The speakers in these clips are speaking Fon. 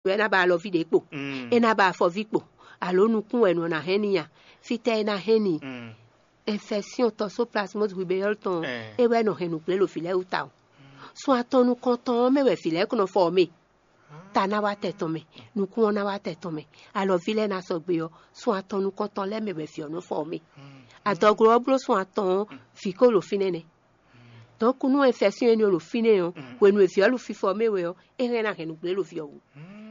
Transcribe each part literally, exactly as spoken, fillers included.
wɛ ná ba alɔví ɖě kpo, é ná ba afɔví kpo, alo nukún wɛ nɔ ná hɛn n'i a? Fítɛ́ é ná hɛn n'i? Infection toxoplasmose rubéole tɔn, é wɛ nɔ hɛn nǔgblé ɖo vǐ lɛ́ɛ wú tawun. Sun atɔn nukɔntɔn ɔ́ mɛ wɛ vǐ lɛ́ɛ kɔn nɔ fɔ ɔ́ mɛ. Ta ná wá tɛ tɔn mɛ, nukún ɔ́ ná wá tɛ tɔn mɛ, alɔví lɛ́ɛ ná sɔgbe ɔ́, sun atɔn nukɔntɔn lɛ́ɛ mɛ wɛ vǐ ɔ́ nɔ fɔ ɔ́ mɛ. Adɔglo ɔ́ bló sun atɔn ɔ́, vǐ ko ɖo fínɛ́ nɛ́. Donc nú infection énɛ́ ɔ́ ɖo fínɛ́ ɔ́, hwenu e vǐ ɔ́ ɖo fífɔ mɛ wɛ ɔ́, é hɛn ná hɛn nǔgblé ɖo vǐ ɔ́ wú.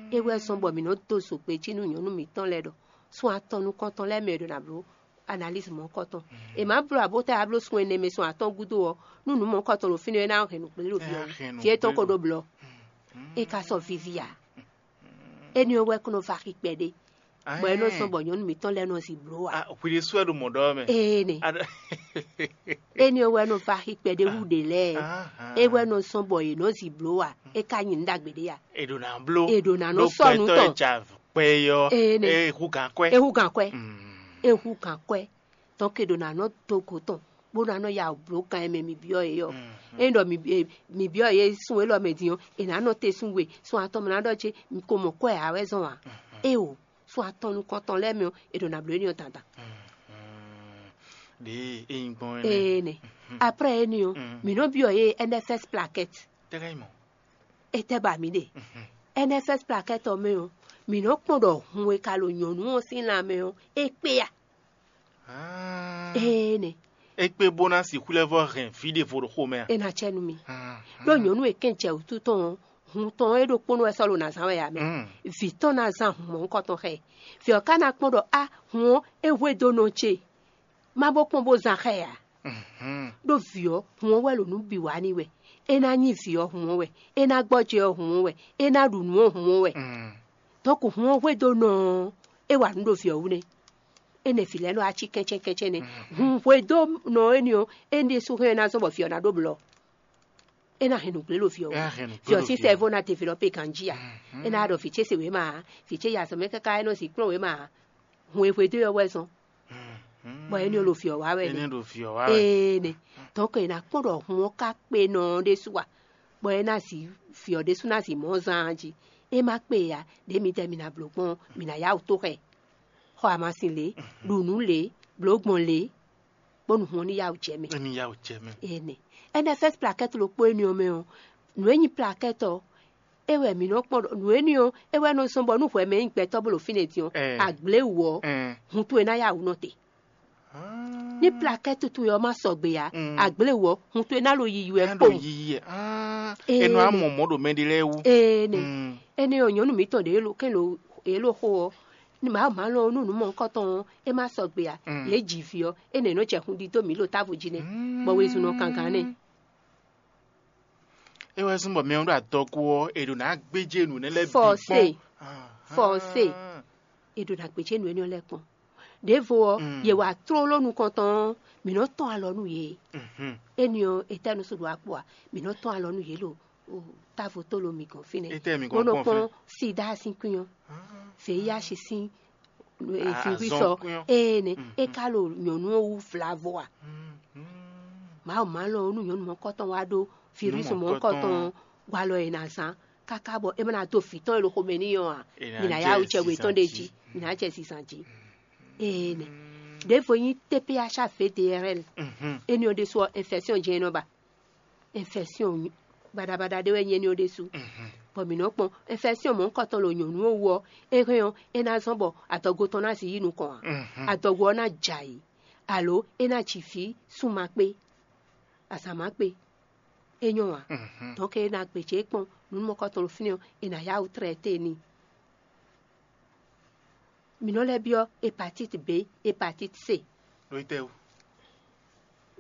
É wɛ zɔ́n bɔ mǐ nɔ dó zogbe jí nú nyɔ̌nu mǐtɔn lɛ́ɛ ɖɔ sun atɔn nukɔntɔn lɛ́ɛ mɛ è ɖo ná bló analyse mɔ̌hunkɔtɔn. È má bló abǒ tá a bló sun ɛnɛ mɛ sun atɔn gúdo ɔ́, nú nǔ mɔ̌hunkɔtɔn ɖo fínɛ́ ɔ́, é ná hɛn nǔgblé ɖo vǐ ɔ́ wú. Vǐ étɔn ko ɖó blɔ. É ka sɔ́ víví ǎ. Énɛ́ ɔ́ wɛ kó nɔ va xi kpɛɖé, bɔ é nɔ zɔ́n bɔ nyɔ̌nu mǐtɔn lɛ́ɛ nɔ zi bló ǎ. Hwi ɖésú wɛ ɖo mɔ̌ ɖɔ mɛ. Ee nɛ. Énɛ́ ɔ́ wɛ nɔ va xi kpɛɖé wú ɖě lɛ́ɛ. É wɛ nɔ zɔ́n bɔ yě nɔ zi bló ǎ. É ka nyi nǔ ɖagbe ɖé ǎ. È ɖo ná bló. È ɖo ná nɔ sɔ́ nǔ tɔn. Kpɛ yɔ. Ee nɛ. É hú gǎn kwɛ́. É hú gǎn kwɛ́. É hú gǎn kwɛ́. Tɔn ke ɖo ná nɔ dó go tɔn, bó ná nɔ ya wǔ bló gan e mɛ mi byɔ́ yě ɔ́. Ényí ɖɔ mi byɔ́ yě sun élɔ́ mɛ din ɔ́, è nǎ nɔ te sun we, sun atɔn mɛ ná ɖɔ ce mi ko mɔ kwɛ́ ǎ wɛ zɔn ǎ. Éeǒ, sun atɔn nukɔntɔn lɛ́ɛ mɛ ɔ́, è ɖo nǎ bló énɛ́ ɔ́ dandan. Ɖěe é nyí gbɔn énɛ́. Ee nɛ. Après énɛ́ ɔ́, mǐ nɔ byɔ́ yě N F S plaquette. Tɛ́ ká nyí mɔ̌? Étɛ́ ba mǐ ɖe? N F S plaquette ɔ́ mɛ ɔ́, mǐ nɔ kpɔ́n ɖɔ hun e ka ɖo nyɔ̌nu ɔ́ sín lan mɛ ɔ́, é kpé a? Ee nɛ. É kpé bó ná sixú lɛ́ vɔ́ hɛn vǐ ɖěvo ɖo xomɛ a? É ná cɛ nú mi. Ɖó nyɔ̌nu e kɛn jɛ wǔtu tɔn ɔ́, hun tɔn ɔ́ é ɖokpónɔ wɛ sɔ́ ɖo ná zán wɛ ǎ mɛ. Vǐ tɔn ná zán hun mɔ̌hunkɔtɔn xá ɛ. Vǐ ɔ́ ka ná kpɔ́n ɖɔ á hun ɔ́ é hwedó nɔ ce. Má bó kpɔ́n bó zán xá ɛ ǎ. Ɖó vǐ ɔ́, hun ɔ́ wɛ ɖo nǔ bǐ wa n'i wɛ. É ná nyí vǐ ɔ́ hun ɔ́ wɛ. É ná gbɔjɛ́ ɔ́ hun ɔ́ wɛ. É ná ɖu nǔ ɔ́ hun ɔ́ wɛ. Dɔnku hun ɔ́ hwedó nɔ ɔ́, é wa nǔ ɖo vǐ ɔ́ wú nɛ́. Énɛ́ vǐ lɛ́ɛ nɔ wá cí kɛ́nchɛ́n kɛ́nchɛ́n nɛ́. Hun hwedó nɔ énɛ́ ɔ́, énɛ́ ɖésú hɛn ná zɔ́n bɔ vǐ ɔ́ ná ɖó blɔ. É ná hɛn nǔgblé ɖo vǐ ɔ́ wú. Vǐ ɔ́ sín sɛ́vó ná develɔpe ganjí ǎ. É ná ɖɔ vǐ ce se wěma ǎ. Vǐ ce yi azɔ̌ mɛ káká é nɔ zǐ kplɔ́n wěma ǎ. Hun e hwedó ɔ́ wɛ zɔn. Bɔ énɛ́ ɔ́ ɖo vǐ ɔ́ wá wɛ nɛ́. Ee nɛ. Dɔnku è nǎ kpɔ́n ɖɔ hun ɔ́ ka kpe nɔ ɔ́ ɖésú a? Bɔ é ná zi vǐ ɔ́ ɖésú ná zi mɔ̌ zán jí. É má kpe ǎ, ɖě midɛɛ mi ná bló gbɔn ɔ́, mi ná yá wǔ tó xɛ. Xɔ amasin lě, ɖu nǔ lě, blǒ gbɔn lě, bónú hun ɔ́ ní yá wǔ jɛ mɛ. Ní yá wǔ jɛ mɛ. Ee nɛ. N F S plaquette ɖokpó énɛ́ ɔ́ mɛ ɔ́, nǔ e nyí plaquette ɔ́, é wɛ mǐ nɔ kpɔ́n ɖɔ nǔ énɛ́ ɔ́, é wɛ nɔ zɔ́n bɔ nú hwɛ mɛ nyí gbɛtɔ́ bó ɖo fínɛ́ din ɔ́, agblé wǔ ɔ́, hun towe ná yá wǔ nɔ te. Ní plaquette towe ɔ́ má sɔgbe ǎ, agblé wǔ ɔ́, hun towe ná ɖo yiyi wɛ kpowun. Yiyi ɛ. Ee, Enɔ amɔ mɔ ɖo mɛ ɖé lɛ́ɛ wú. Ee nɛ. Énɛ́ ɔ́, nyɔ̌nu mǐtɔn ɖě lo kɛn lo yě lo xo ɔ́, ní mǎ má lɔn nú nǔ mɔ̌hunkɔtɔn ɔ́, é má sɔgbe ǎ. Yě ji vǐ ɔ́, énɛ́ nɔ jɛ hun ɖidó mǐ ɖo távo jí nɛ́, bɔ wezun nɔ gangán nɛ́. É wɛ zɔ́n bɔ mɛ ɔ́ ɖo adɔgo ɔ́, è ɖo ná gbéjé nǔ énɛ́ lɛ́ɛ bǐ Forcé. Kpɔ́n. Forcé. È ɖo ná gbéjé nǔ énɛ́ lɛ́ɛ kpɔn. Ɖěvo ɔ́, yě wá tlóló nukɔntɔn ɔ́, mǐ nɔ tɔ́n alɔ nú yě. Énɛ́ ɔ́, etɛ́ nú sɔ́ ɖo akpo a? Mǐ nɔ tɔ́n alɔ nú yě ɖo távo tó lo mǐ gɔ́n fínɛ́. Etɛ́ mǐ gɔ́n bó nɔ kpɔ́n kpɔ́n sida sín kwín ɔ́, V I H sín virus ɔ́, ee nɛ é ka ɖo nyɔ̌nu ɔ́ wú vlavo a? Mawu má lɔn ɔ́ nú nyɔ̌nu mɔ̌hunkɔtɔn wá ɖó virus mɔ̌hunkɔtɔn ɔ́, walɔ e ná zán káká bɔ é má ná dó vǐ tɔn e ɖo xomɛ n'i ɔ́ ǎ. Mǐ ná yá wú jɛ we tɔn ɖé jí, mǐ ná jɛ zizan jí. Ee nɛ. Ɖěvo nyí T P H A V D R L. Énɛ́ ɔ́ ɖésú ɔ́, infection jɛ́n é nɔ ba. Infection baɖabaɖa ɖé wɛ nyí énɛ́ ɔ́ ɖésú. Bɔ mǐ nɔ kpɔn infection mɔ̌hunkɔtɔn ɖo nyɔ̌nu ɔ́ wú ɔ́, é hɛn ɔ́, é ná zɔ́n bɔ adɔgo tɔn ná si yí nukɔn ǎ. Adɔgo ɔ́ ná jɛ ayǐ, alo é ná ji vǐ sunma kpé, azǎn má kpé. É nyɔ́ ǎ. Donc é ná gbějé kpɔn nǔ mɔ̌hunkɔtɔn ɖo fínɛ́ ɔ́, è nǎ yá wǔ tlɛ téé n'i. Mǐ nɔ lɛ́ byɔ́ hepatite B, hepatite C. Lóyítɛ́ wú.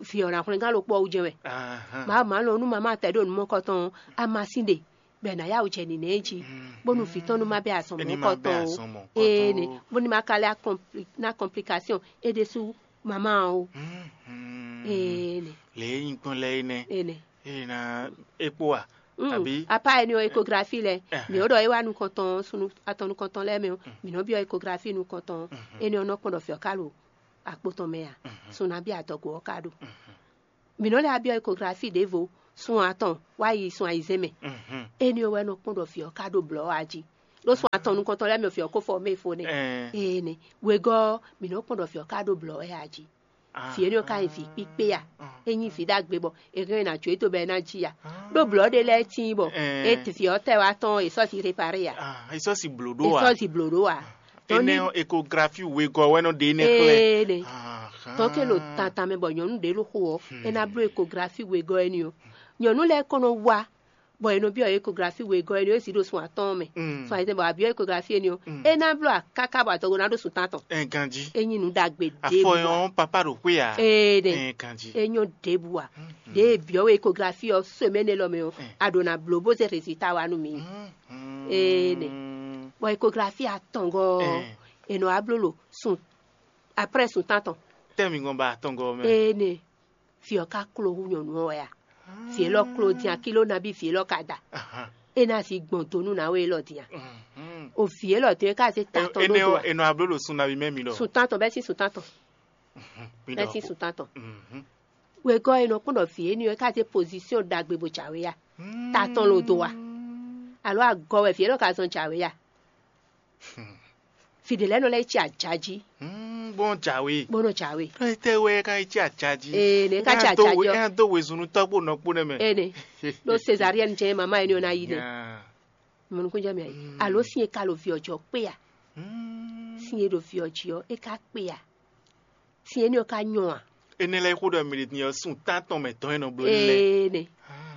Vǐ ɔ́ ná hwlɛ́ngán ɖokpó ɔ́ wú jɛ́n wɛ. Ahán. Má má lɔn nú mamá tɛ ɖo nǔ mɔ̌hunkɔtɔn ɔ́, amasin ɖe bɔ è nǎ yá wǔ jɛ nǐnɛ́ jí, bónú vǐ tɔn nú má bɛ́ azɔn mɔ̌hunkɔtɔn ó. Ee nɛ, bónú má ka lɛ́ ná complication é ɖésú mamá ɔ́ ó. Ee nɛ. Lě e nyí gbɔn lɛ́ɛ é nɛ́. Ee nɛ. Ee ná é kpó a? Àbí? Apá ɛni ɔ́, échographie lɛ, mǐ ó ɖɔ é wá nukɔntɔn, sunu atɔn nukɔntɔn lɛ́ɛ mɛ ɔ́, mǐ nɔ byɔ́ échographie nukɔntɔn. Énɛ́ ɔ́ nɔ kpɔ́n ɖɔ fɛ́ ɔ́ ká ɖo akpo tɔn mɛ a? Sun nabí adɔgo ɔ́ ká ɖo. Mǐ nɔ lɛ́ byɔ́ échographie ɖěvo, sun atɔn wá yi sun ayizɛ́n mɛ. Énɛ́ ɔ́ wɛ nɔ kpɔ́n ɖɔ fɛ́ ɔ́ ká ɖo blɔ̌ a jí. Ɖó sun atɔn nukɔntɔn lɛ́ɛ mɛ ɔ, vǐ ɔ́ ko fɔ mɛ fo nɛ́. Ɛɛ. Ee nɛ. Wegɔ́ ɔ́, mǐ nɔ́ kpɔ́n ɖɔ vǐ ɔ́ ka ɖó blɔ̌ wɛ a jí. Vǐ énɛ́ ɔ́ ka nyí vǐ kpíkpé a? É nyí vǐ ɖagbe bɔ è hɛn ɛ ná jó é dó bɔ é ná jí a? Ɖó blɔ̌ ɖé lɛ́ɛ tíin bɔ é vǐ ɔ́ tɛ wá tɔn è sɔ́ si réparé a? Ah, é sɔ́ si blǒ ɖó È a? Sɔ́ si blǒ ɖó a? Énɛ́ ɔ́, ékografi wegɔ́ wɛ nɔ ɖe énɛ́ xlɛ́. Ee nɛ. Ahán. Tɔ́ ke ɖo tantan mɛ bɔ nyɔ̌nu ɖě ɖo xo ɔ́, é ná bló ékografi wegɔ́ énɛ́ ɔ́. Nyɔ̌nu lɛ́ɛ kɔn nɔ wá bɔ è nɔ byɔ́ ékografi wegɔ́ énɛ́ ɔ́, é si ɖo sun atɔ́ɔ́n mɛ. Mm. Sun ayizɛ́n bɔ a byɔ́ ékografi énɛ́ ɔ́, é ná bló a káká bɔ adɔgo ná ɖó sun tántɔn. Ɛ ganjí. É nyí nǔ ɖagbe ɖěbǔ Afɔ a. Ɔ́n papa ɖo xwé a? Ee ɖe. Ɛ ganjí. É nyɔ́ ɖěbǔ a. Ɖě e byɔ́ we ékografi ɔ́ semaine élɔ́ mɛ ɔ́, a ɖǒ ná bló bó zé résultat wá nú mì. Mm. Ee nɛ. Bɔ ékografi atɔngɔ́ ɔ́, è nɔ wá bló ɖo sun après sun tántɔn. Tɛ́ mi gɔn ba atɔngɔ́ mɛ. Ee nɛ. Vǐ ɔ́ ka kló hú nyɔ̌nu ɔ́ wɛ a? Vǐ élɔ́ kló din a, kiló nabí vǐ élɔ́ ka da? Ahán. É ná zi gbɔn do nú nǎwe élɔ́ din a? Mhm. O vǐ élɔ́ din é ka zé ta tɔn ɖó Énɛ́ do ɔ́, a? È nɔ abló ɖo sun nabí mɛ mi ɖɔ. Sun tántɔn bɛ́ sín sun tántɔn. Mhm. Mi Bɛ́ ɖɔ sín ko. Sun tántɔn. Mhm. Wegɔ́ e nɔ kpɔ́n ɖɔ vǐ énɛ́ ɔ́ é ka zé pozisyon ɖagbe bó jǎwe a? Ta tɔn lo do a? Alɔ agɔ wɛ vǐ élɔ́ ka zɔn jǎwe a? Fí ɖě lɛ́ɛ nɔ lɛ́ yi cí ajají. Hmm, bó nɔ jǎwe. Bó nɔ jǎwe. Ɖó étɛ́ wɛ é ka yi cí ajají? Ee, nɛ é ka cí ajají ɔ́. É ná dó wezun nú tɔ́gbó nɔ kpó nɛ́ mɛ. Ene. Ɖó césaryɛ́n jɛ́n mama énɛ́ ɔ́ ná yi nɛ. Mɔnukúnjɛ mɛ ayi. Alo sin e ka lo vǐ ɔ́ jí ɔ́ kpé a? Sin e ɖo vǐ ɔ́ jí ɔ́, é ka kpé a? Sin énɛ́ ɔ́ ka nyɔ a? Énɛ́ lɛ́ɛ xó ɖɔ mɛ ɖě din ɔ́, sun tántɔn mɛ tɔn e nɔ bló ní lɛ́ɛ. Ee nɛ.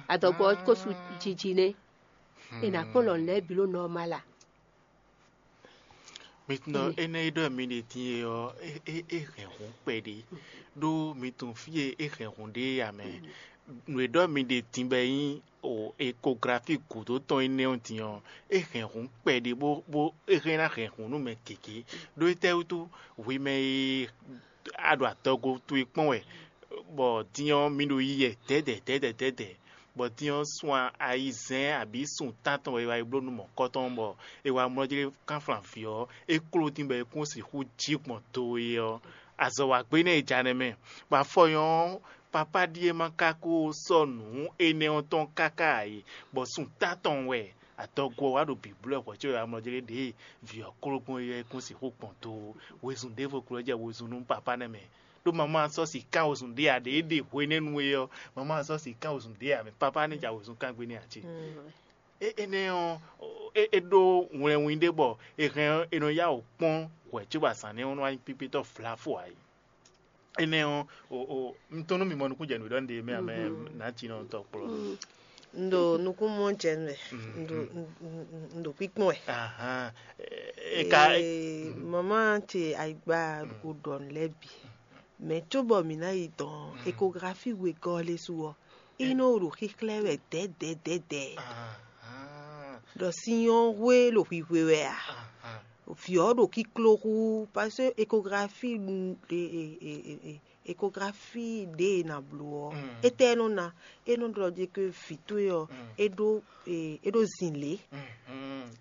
Adɔgbɔ ɔ́ ko su jiji nɛ́. È nǎ kpɔ́n lɔ̌n lɛ́ɛ bǐ ɖo nɔ́ ɔ́ má la. Mi tunɔ énɛ́ e ɖɔ mi ɖe din e ɔ́, é é é hɛn hǔn kpɛɖé. Ɖó mi tunwun fí e é hɛn hǔn ɖe é ǎ mɛ. Nǔ e ɖɔ mi ɖe din bɔ é nyí o ekografi gǔdo tɔn énɛ́ ɔ́ din ɔ́, é hɛn hǔn kpɛɖé bó bó é hɛn ná hɛn hǔn nú mɛ gěgé. Ɖó étɛ́ wútu hwi mɛ e a ɖo adɔgo towe kpɔ́n wɛ, bɔ din ɔ́ mi ɖo yi yɛ dɛ̌dɛ̌ dɛ̌dɛ̌ dɛ̌dɛ̌, bɔ din ɔ́ sun ayizɛ́n abǐ sun tántɔn wɛ è wá yi bló nú mɔ̌kɔtɔn, bɔ è wá mlɔ́ jlé kánflán vǐ ɔ́, é kló dín bɔ é kún sixú jí gbɔn do e ɔ́, azɔ̌ wa gbé nɛ́ è ja nɛ́ mɛ, bɔ afɔ nyɔ́ ɔ́, papá ɖíe ma ka ko sɔ́ nǔ énɛ́ ɔ́ tɔn káká ǎ é, bɔ sun tántɔn wɛ adɔgo ɔ́ wá ɖo bǐblɔ́ hwɛ̌ có è wá mlɔ́ jlé ɖě vǐ ɔ́ kló gbɔn é ɔ́, é kún sixú gbɔn do wezun ɖěvo kló jɛ wezun nú papá nɛ́ mɛ. Ɖó mamá sɔ́ sǐ kán wezun ɖé ǎ, ɖě é ɖe hwenɛ́nu é ɔ́, mamá sɔ́ sǐ kán wezun ɖé ǎ, mɛ papá ní ja wezun kán gbé n'i ǎ ce. É énɛ́ ɔ́, é é ɖó wlɛnwin ɖé bɔ è hɛn ɔ́, è nɔ yá wǔ kpɔ́n hwɛ̌ cóbɔ azǎn nɛ́ ɔ́ nɔ wá nyí kpíkpétɔ́ vlafo ǎ é. Énɛ́ ɔ́, o o un tɔ́n nú mi mɔ nukúnjɛnǔ ɖɔ un ɖe mɛ amɛ nǎjínɔ tɔn kplɔ́. Un ɖo nukún mɔ jɛ nú wɛ, un ɖo un- un- un ɖo kpíkpɔ́n wɛ. Ahán. E ka Ee, mama ce ayigba o ɖɔ nǔ lɛ́ɛ bǐ. Mɛ cóbɔ mǐ ná yi dɔn ekografi wegɔ́ lé su ɔ́, é nɔ ɖo xíxlɛ́ wɛ dɛ̌dɛ̌dɛ̌dɛ̌. Ahán. Ɖɔ sin ɔ́ hwe ɖo hwihwe wɛ a? Ahán. Vǐ ɔ́ ɖo kíkló hú, parce que échographie échographie ɖě e nǎ bló ɔ́, étɛ́ é nɔ ná? É nɔ ɖɔ ɖe ke vǐ towe ɔ́, é ɖó é ɖó zǐnlé.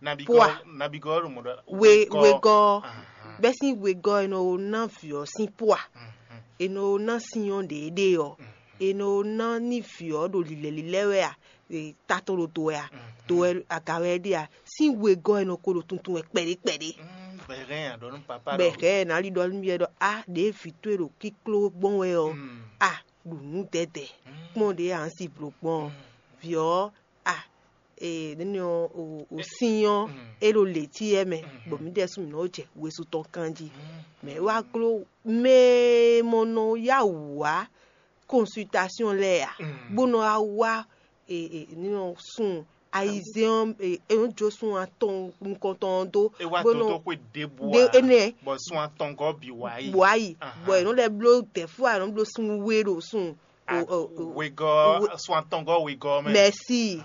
Nabigɔ Poa. Nabigɔ ɖo mɔ ɖɔ We wegɔ́. Bɛ́ sín wegɔ́ e nɔ ná vǐ ɔ́ sín poa, e nɔ ná sin ɔ́ ɖě ɖe ɔ́, e nɔ ná ní vǐ ɔ́ ɖo lilɛ lilɛ wɛ a? E, ta tɔn ɖo do wɛ a? Do wɛ aga wɛ é ɖe a? Sín wegɔ́ e nɔ ko ɖo tuntun wɛ kpɛɖé kpɛɖé. Bɛhɛn a ɖɔ nú papa bɛ ɖɔ hɛ ɛ ná li ɖɔ nú yɛ ɖɔ a ɖě vǐ towe ɖo kíkló gbɔn wɛ ɔ́, a ɖu nǔ dɛdɛ kpɔn ɖě a si blo gbɔn ɔ́, vǐ ɔ́ a e nɛnɛ ɔ́ o o sin ɔ́ e ɖo lě cí ɛ mɛ, bɔ mǐ ɖɛ́ sún mǐ nɔ jɛ wezun tɔn kan jí. Mɛ wá gló mɛ e mɔ nɔ yá wǔ wá consultation lɛ́ɛ a, bó nɔ wá wá e e nínɔ sun ayizɛ́n ɔ́ e e nɔ jó sun atɔn nukɔntɔn ɔ́ dó. E wá bó nɔ dodó xwe ɖěbǔ ɖe ǎ, enɛ bɔ sun atɔngɔ́ bǐ wá yi. Bɔ ayi. Bɔ è nɔ lɛ́ bló dɛ̌fú a è nɔ bló sun we ɖo sun o o o wegɔ́ we- sun atɔngɔ́ wegɔ́ mɛ. Mɛsi.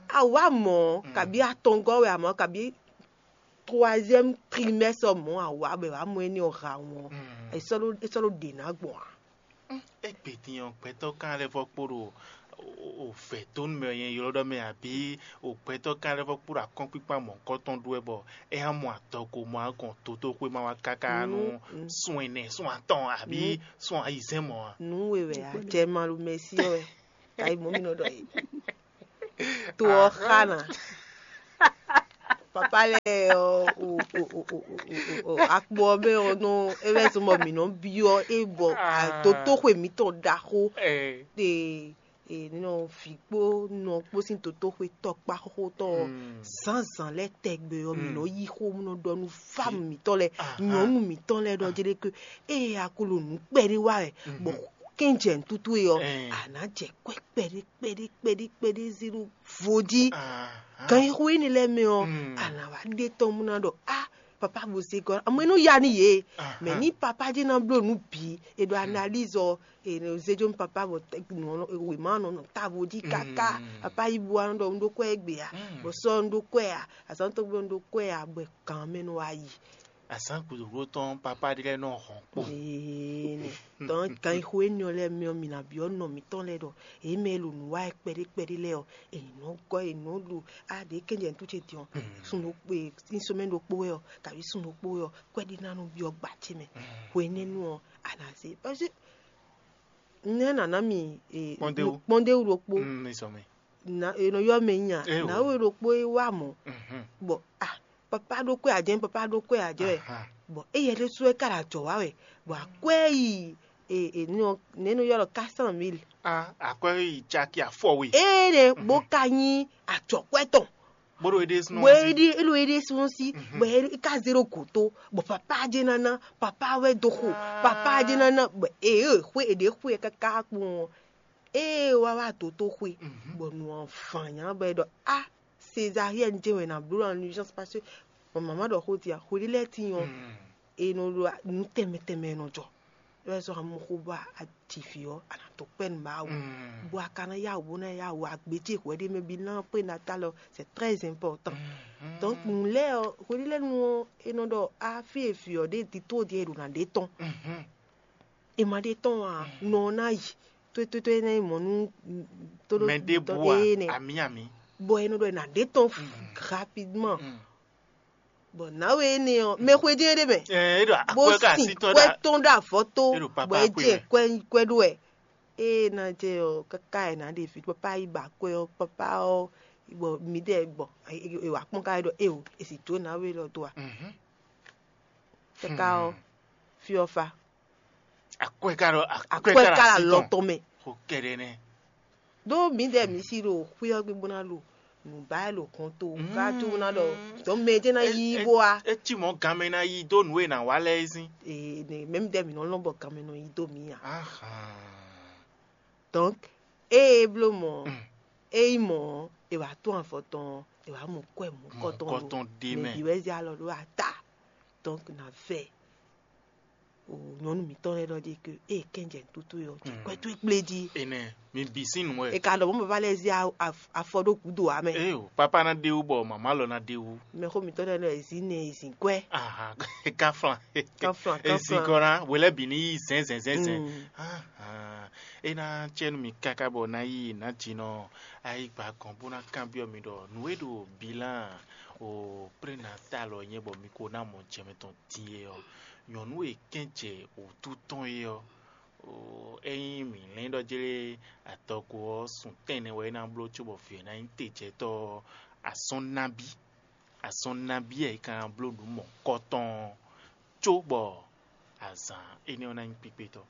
Awa mɔ kabi atɔngɔ́ wɛ amɔ kabi troisième trimestre mɔ awa bɛ wa mɔ ɛni ɔha wɔn. Esɔlo esɔlo ɖe na gbɔn a. Egbe din ɔ́, gbɛtɔ́ kan lɛ́ vɔ kpo ɖo o vɛ̌ tó nú mɛ nyɛ ylɔ́ ɖɔ mɛ abǐ o gbɛtɔ́ kan lɛ́ vɔ kpo ɖo akɔ́nkpíkpá mɔ̌hunkɔtɔn ɖó wɛ bɔ é hán mɔ adɔgo mɔ agɔn dotóxwé ma wá káká nú sun ɛnɛ sun atɔn abǐ sun ayizɛ́n mɔ̌ a. Nǔ we wɛ a jɛ malu mɛsi ɔ́ wɛ. Tayi mɔ mi nɔ ɖɔ yi. To ɔ́ xa na. Papa lɛ́ɛ ɔ́, o o o o o o o akpo ɔ́ mɛ ɔ́ nɔ é wɛ zɔn bɔ mǐ nɔ byɔ́ é bɔ Ah. Dotóxwe mǐtɔn ɖaxó Eh. ɖe e nɔ vǐ kpó nɔ kpó sín dotóxwe tɔkpá xóxótɔn ɔ́ Mm. Zǎnzǎn lɛ́ɛ tɛgbɛ ɔ́ mǐ Mm. nɔ yí xó mú nɔ ɖɔ nú fámu mǐtɔn lɛ́ɛ Aha. Nyɔ̌nu mǐtɔn lɛ́ɛ ɖɔ jɛɖé ke ée a ko ɖo nǔ kpɛɖé wa wɛ Mhm. bɔ kɛ́njɛ nǔtútú e ɔ́ Eh. A nǎ jɛ kwɛ́ kpɛɖé kpɛɖé kpɛɖé kpɛɖé zé ɖó vodí Aha. Gan e xo énɛ́ lɛ́ɛ mɛ ɔ́ Mm. A nǎ wá ɖe tɔn mú ná ɖɔ a papa bo zé gɔ́ amɔ é nɔ ya nú yě Aha. Mɛ ní papa jɛ́n ná bló nǔ bǐ è ɖo analyse ɔ è nɔ zé jó nú papa bɔ tɛ- nǔ ɔ́ nɔ- wěma ɔ́ nɔ nɔ távo jí káká Mm. Papa yi bu wa nɔ ɖɔ un ɖó kwɛ́ égbé a Mm. bɔ sɔ́ un ɖó kwɛ́ a azǎn tɔn gbé un ɖó kwɛ́ a bɔ gǎn mɛ nɔ wá yi Azǎn gǔdo tɔn papa ɖé lɛ́ɛ nɔ hɔn kpo Ee, nɛ. Tɔn kan xo énɛ́ ɔ́ lɛ́ɛ mɛ ɔ́, mi ná byɔ́ nɔ mǐtɔn lɛ́ɛ ɖɔ yě mɛ e ɖo nǔ wa wɛ kpɛɖé kpɛɖé lɛ́ɛ ɔ́, è nǐ nɔ gɔ́ è nǐ nɔ ɖu á ɖě kɛnjɛ nú tú ce din ɔ́, sun ɖokpó e sín sɔmɛ ɖokpó wɛ ɔ́, kaví sun ɖokpó wɛ ɔ́, kwɛ́ ɖé ná nɔ byɔ́ gba ce mɛ. Hwenɛ́nu ɔ́, a nǎ zé parce que nɛ́ nǎ ná mi e, Kpɔ́ndéwú. Kpɔ́ndéwú ɖokpó. Mm, ní sɔmɛ. Na e nɔ ylɔ́ mɛ nyi a Éwo. Nǎwe ɖokpó e wá mɔ̌ Mhm. Bɔ ah papa ɖó kwɛ ǎ jɛ́n papa ɖó kwɛ ǎ jɛ́n wɛ Aha. Bɔ éyɛ́ ɖésú wɛ ka ɖo ajɔ̌ wa wɛ bɔ akwɛ́ yi e e nɔ nɛ́ nɔ ylɔ́ quatre cent mille Ah, akwɛ́ yi caki afɔwe. Ée ɖe bó ka nyí ajɔ̌kwɛ́ tɔn Bó ɖo éɖée sinɔ bó si. Éɖí éɖo éɖée sinɔ si bɔ é ka zé ɖo gǒ tó bɔ papa jɛ́n ná ná papa wɛ dó xo papa jɛ́n ná ná bɔ ee xwé e ɖě xwé ɛ káká kpɔn ɔ́ ée wá wá dǒ tó xwé bɔ nǔ ɔ́ fan nyá bɔ é ɖɔ a Césarienne jɛ́n wɛ è nǎ bló ɖo en urgence parce que mama ɖɔ xó din a xwéɖé lɛ́ɛ tíin ɔ́ è nɔ ɖo nǔ tɛnmɛ tɛnmɛ è nɔ jɔ é wɛ sɔ́ amɔxó bɔ a ji vǐ ɔ́ a nǎ dó kpɛ́ nú Mawu bɔ a ka ná yá wǔ bó ná yá wǔ a gbějé hwɛ ɖé mɛ bí ná prénatal ɔ́ c'est très important donc nǔ lɛ́ɛ ɔ́ hweɖé lɛ́ɛ nu ɔ́ è nɔ ɖɔ a fí e vǐ ɔ́ ɖe dito ɖíe è ɖo ná ɖe tɔn è ma ɖe tɔn ǎ nɔ ɔ́ ná yi tótótó é ná yi mɔ̌ nú tóɖó Mɛ ɖěbǔ a, énɛ́ amǐ amǐ. Bɔ è nɔ ɖɔ è nǎ ɖe tɔn rapidement bɔ nǎwe énɛ́ ɔ́ mɛ xwedí é ɖé mɛ Ɛ, é ɖo bó akwɛ́ ka sin así tɔn kwɛ ɖa. Tɔn ɖo avɔ tó É ɖo papa bɔ é akpé jɛ mɛ. Kwɛ kwɛ ɖó wɛ ée ná jɛ ɔ káká ɛ ná ɖe vi papa yi ba kwɛ ɔ papa ɔ bɔ mi ɖɛ bɔ e wà kpɔn ká ɖɔ e o e sì jó nǎwe lɔ do a Mhm. Káká ɔ fi ɔ fa Akwɛ́ ka ɖo akwɛ́ akwɛ ka ɖo ká la así lɔ tɔn. Tɔn mɛ Xo kɛɖɛ nɛ. Ɖó mǐdɛɛ mǐ si ɖo xwé ɔ́ gbe bó ná ɖo nǔ ba wɛ ɖo hɔn to ká tó ná ɖɔ dɔ̌n mɛ jɛ́n ná yí bó wá. Eci mɔ̌ ganmɛ ná yí dó nǔ e nǎ wa lɛ́ɛ sín. Ee, ne mɛ mǐdɛɛ mǐ nɔ lɔn bɔ ganmɛ nɔ yí dó mǐ ǎ. Ahan. Donc ée é bló mɔ̌ ɔ́, é nyí mɔ̌ ɔ́, è wǎ tún avɔ tɔn ɔ́, è wǎ mɔ kwɛ́ mɔ̌kɔtɔn Mɔ̌kɔtɔn ɖé mɛ. Mɛ bǐ wɛ zé alɔ ɖó ata. Donc nǎ vɛ o nyɔ̌nu mǐtɔn lɛ́ɛ ɖɔ ɖe ke ée kɛ́njɛ nǔtútú ɔ́, jɛ kwɛ́ towe kplé jí. Enɛ, mi bǐ sín nǔ wɛ. È ka ɖɔ mɔ̌ baba lɛ́ɛ zé a- af- afɔ ɖó gǔdo ǎ mɛ. Ée o, papa ná ɖe wú bɔ mama lɔ ná ɖe wú. Mɛxó mǐtɔn lɛ́ɛ nɔ e zǐn nɛ e zǐn kwɛ́. Ahan, kaflan. Kaflan, E zǐn kaflan. Kɔ ná, wě lɛ́ɛ bǐ ní yí zɛ̌nzɛ̌nzɛ̌nzɛ̌n. Mm. Ahan, é ná cɛ nú mi káká bɔ ná yí nǎ jinɔ ayigba gɔn bó ná kanbyɔ́ mi ɖɔ nǔ e ɖo bilan o prénatal ɔ́ nyɛ bɔ mi ko ná mɔ jɛ mɛ tɔn din é ɔ́, nyɔ̌nu e kɛ́n jɛ wǔtu tɔn é ɔ́, o, ényí mǐ lɛ́n ɖɔ jlé adɔgo ɔ́, sun tɛ́nnɛ wɛ é ná bló cóbɔ vǐ ɔ́ ná nyí tejɛtɔ́ ɔ́, azɔn nabí, azɔn nabí wɛ é ka ná bló nǔ mɔ̌kɔtɔn ɔ́, cóbɔ azǎn énɛ́ ɔ́ ná nyí kpíkpétɔ́.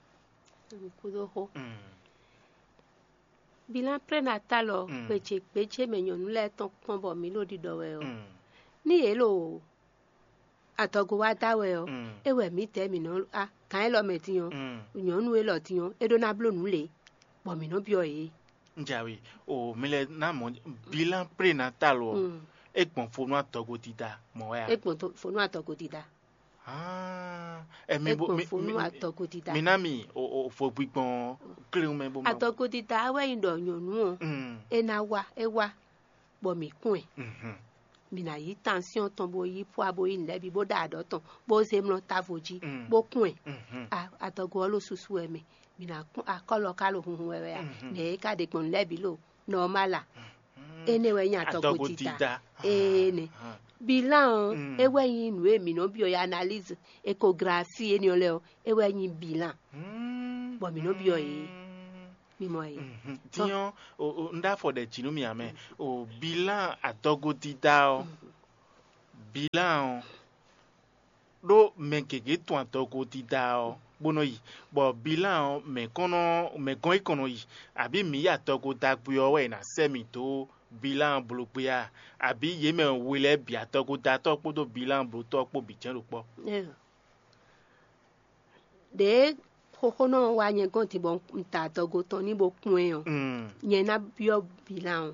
Nukúnɖóxó. Mm. Bilan prénatal ɔ́, Mm. Gbějé gbějé mɛ nyɔ̌nu lɛ́ɛ tɔn kpɔ́n bɔ mǐ ɖo ɖiɖɔ wɛ ɔ́, Mm. Ní yě ɖo adɔgo wá da wɛ ɔ́, Mm. É wɛ mǐdɛɛ mǐ nɔ a gǎn élɔ́ mɛ din ɔ́, Mm. Nyɔ̌nu élɔ́ din ɔ́, é ɖó ná bló nǔ lě, bɔ mǐ nɔ byɔ́ yě. Njawe, o mi lɛ ná mɔ bilan prénatal ɔ́, Mm. É gbɔn fo nú adɔgo dida mɔ wɛ a? É gbɔn to- fo nú adɔgo dida. Ah, ɛ mi É bo gbɔn mi fo nú mi adɔgo dida. Mi ná mi o o fo gbigbɔn kléwún mɛ bó ma. Adɔgo dida wɛ nyí ɖɔ nyɔ̌nu ɔ́, Mm. É ná wá, é wá, bɔ mǐ kún ɛ. Mhm. Mǐ ná yí tansyɔ́n tɔn bó yí pwa bó yí nǔ lɛ́ɛ bǐ bó ɖa aɖɔ̌ tɔn bó zé mlɔ́ távo jí Mm. Bó kún ɛ. Mhm. A- Adɔgo ɔ́ ɖo susu wɛ mɛ. Mǐ ná kún akɔ́lɔ ká ɖo hunhun wɛ wɛ a? Mhm. Nɛ̌ é ka ɖe gbɔn nǔ lɛ́ɛ bǐ lo nɔmál a? Énɛ́ wɛ nyí adɔgo dida. Adɔgo dida. Ee nɛ. Ah. Bilan ɔ́, Mm. É wɛ nyí nǔ e mǐ nɔ byɔ́ analyse échographie énɛ́ ɔ́ lɛ́ɛ ɔ́, é wɛ nyí bilan. Mm. Bɔ mǐ nɔ byɔ́ yě. Mi mɔ yě. Mhm. Din ɔ́, o- o- un ɖo afɔ ɖe jǐ nú mi ame. O bilan adɔgo dida ɔ́, Bilan ɔ́, ɖó mɛ gěgé tun adɔgo dídá ɔ́ bó nɔ yi, bɔ bilan ɔ́ mɛ kɔn nɔ mɛ gɔ́n yi kɔn nɔ yi, abǐ mǐ yi adɔgo dagbe ɔ́ wɛ è nǎ sɛ́ mǐ dó bilan bló gbé a? Abǐ yě mɛ we lɛ́ɛ bǐ adɔgo datɔ́ kpódó bilan blótɔ́ kpó bǐ jɛ́n ɖo kpɔ́? Ɖěe xóxó nɔ wá nyɛ gɔ́n din bɔ un ta adɔgo tɔn ní bó kpɔ́n ɛ ɔ́, nyɛ ná byɔ́ bilan ɔ́,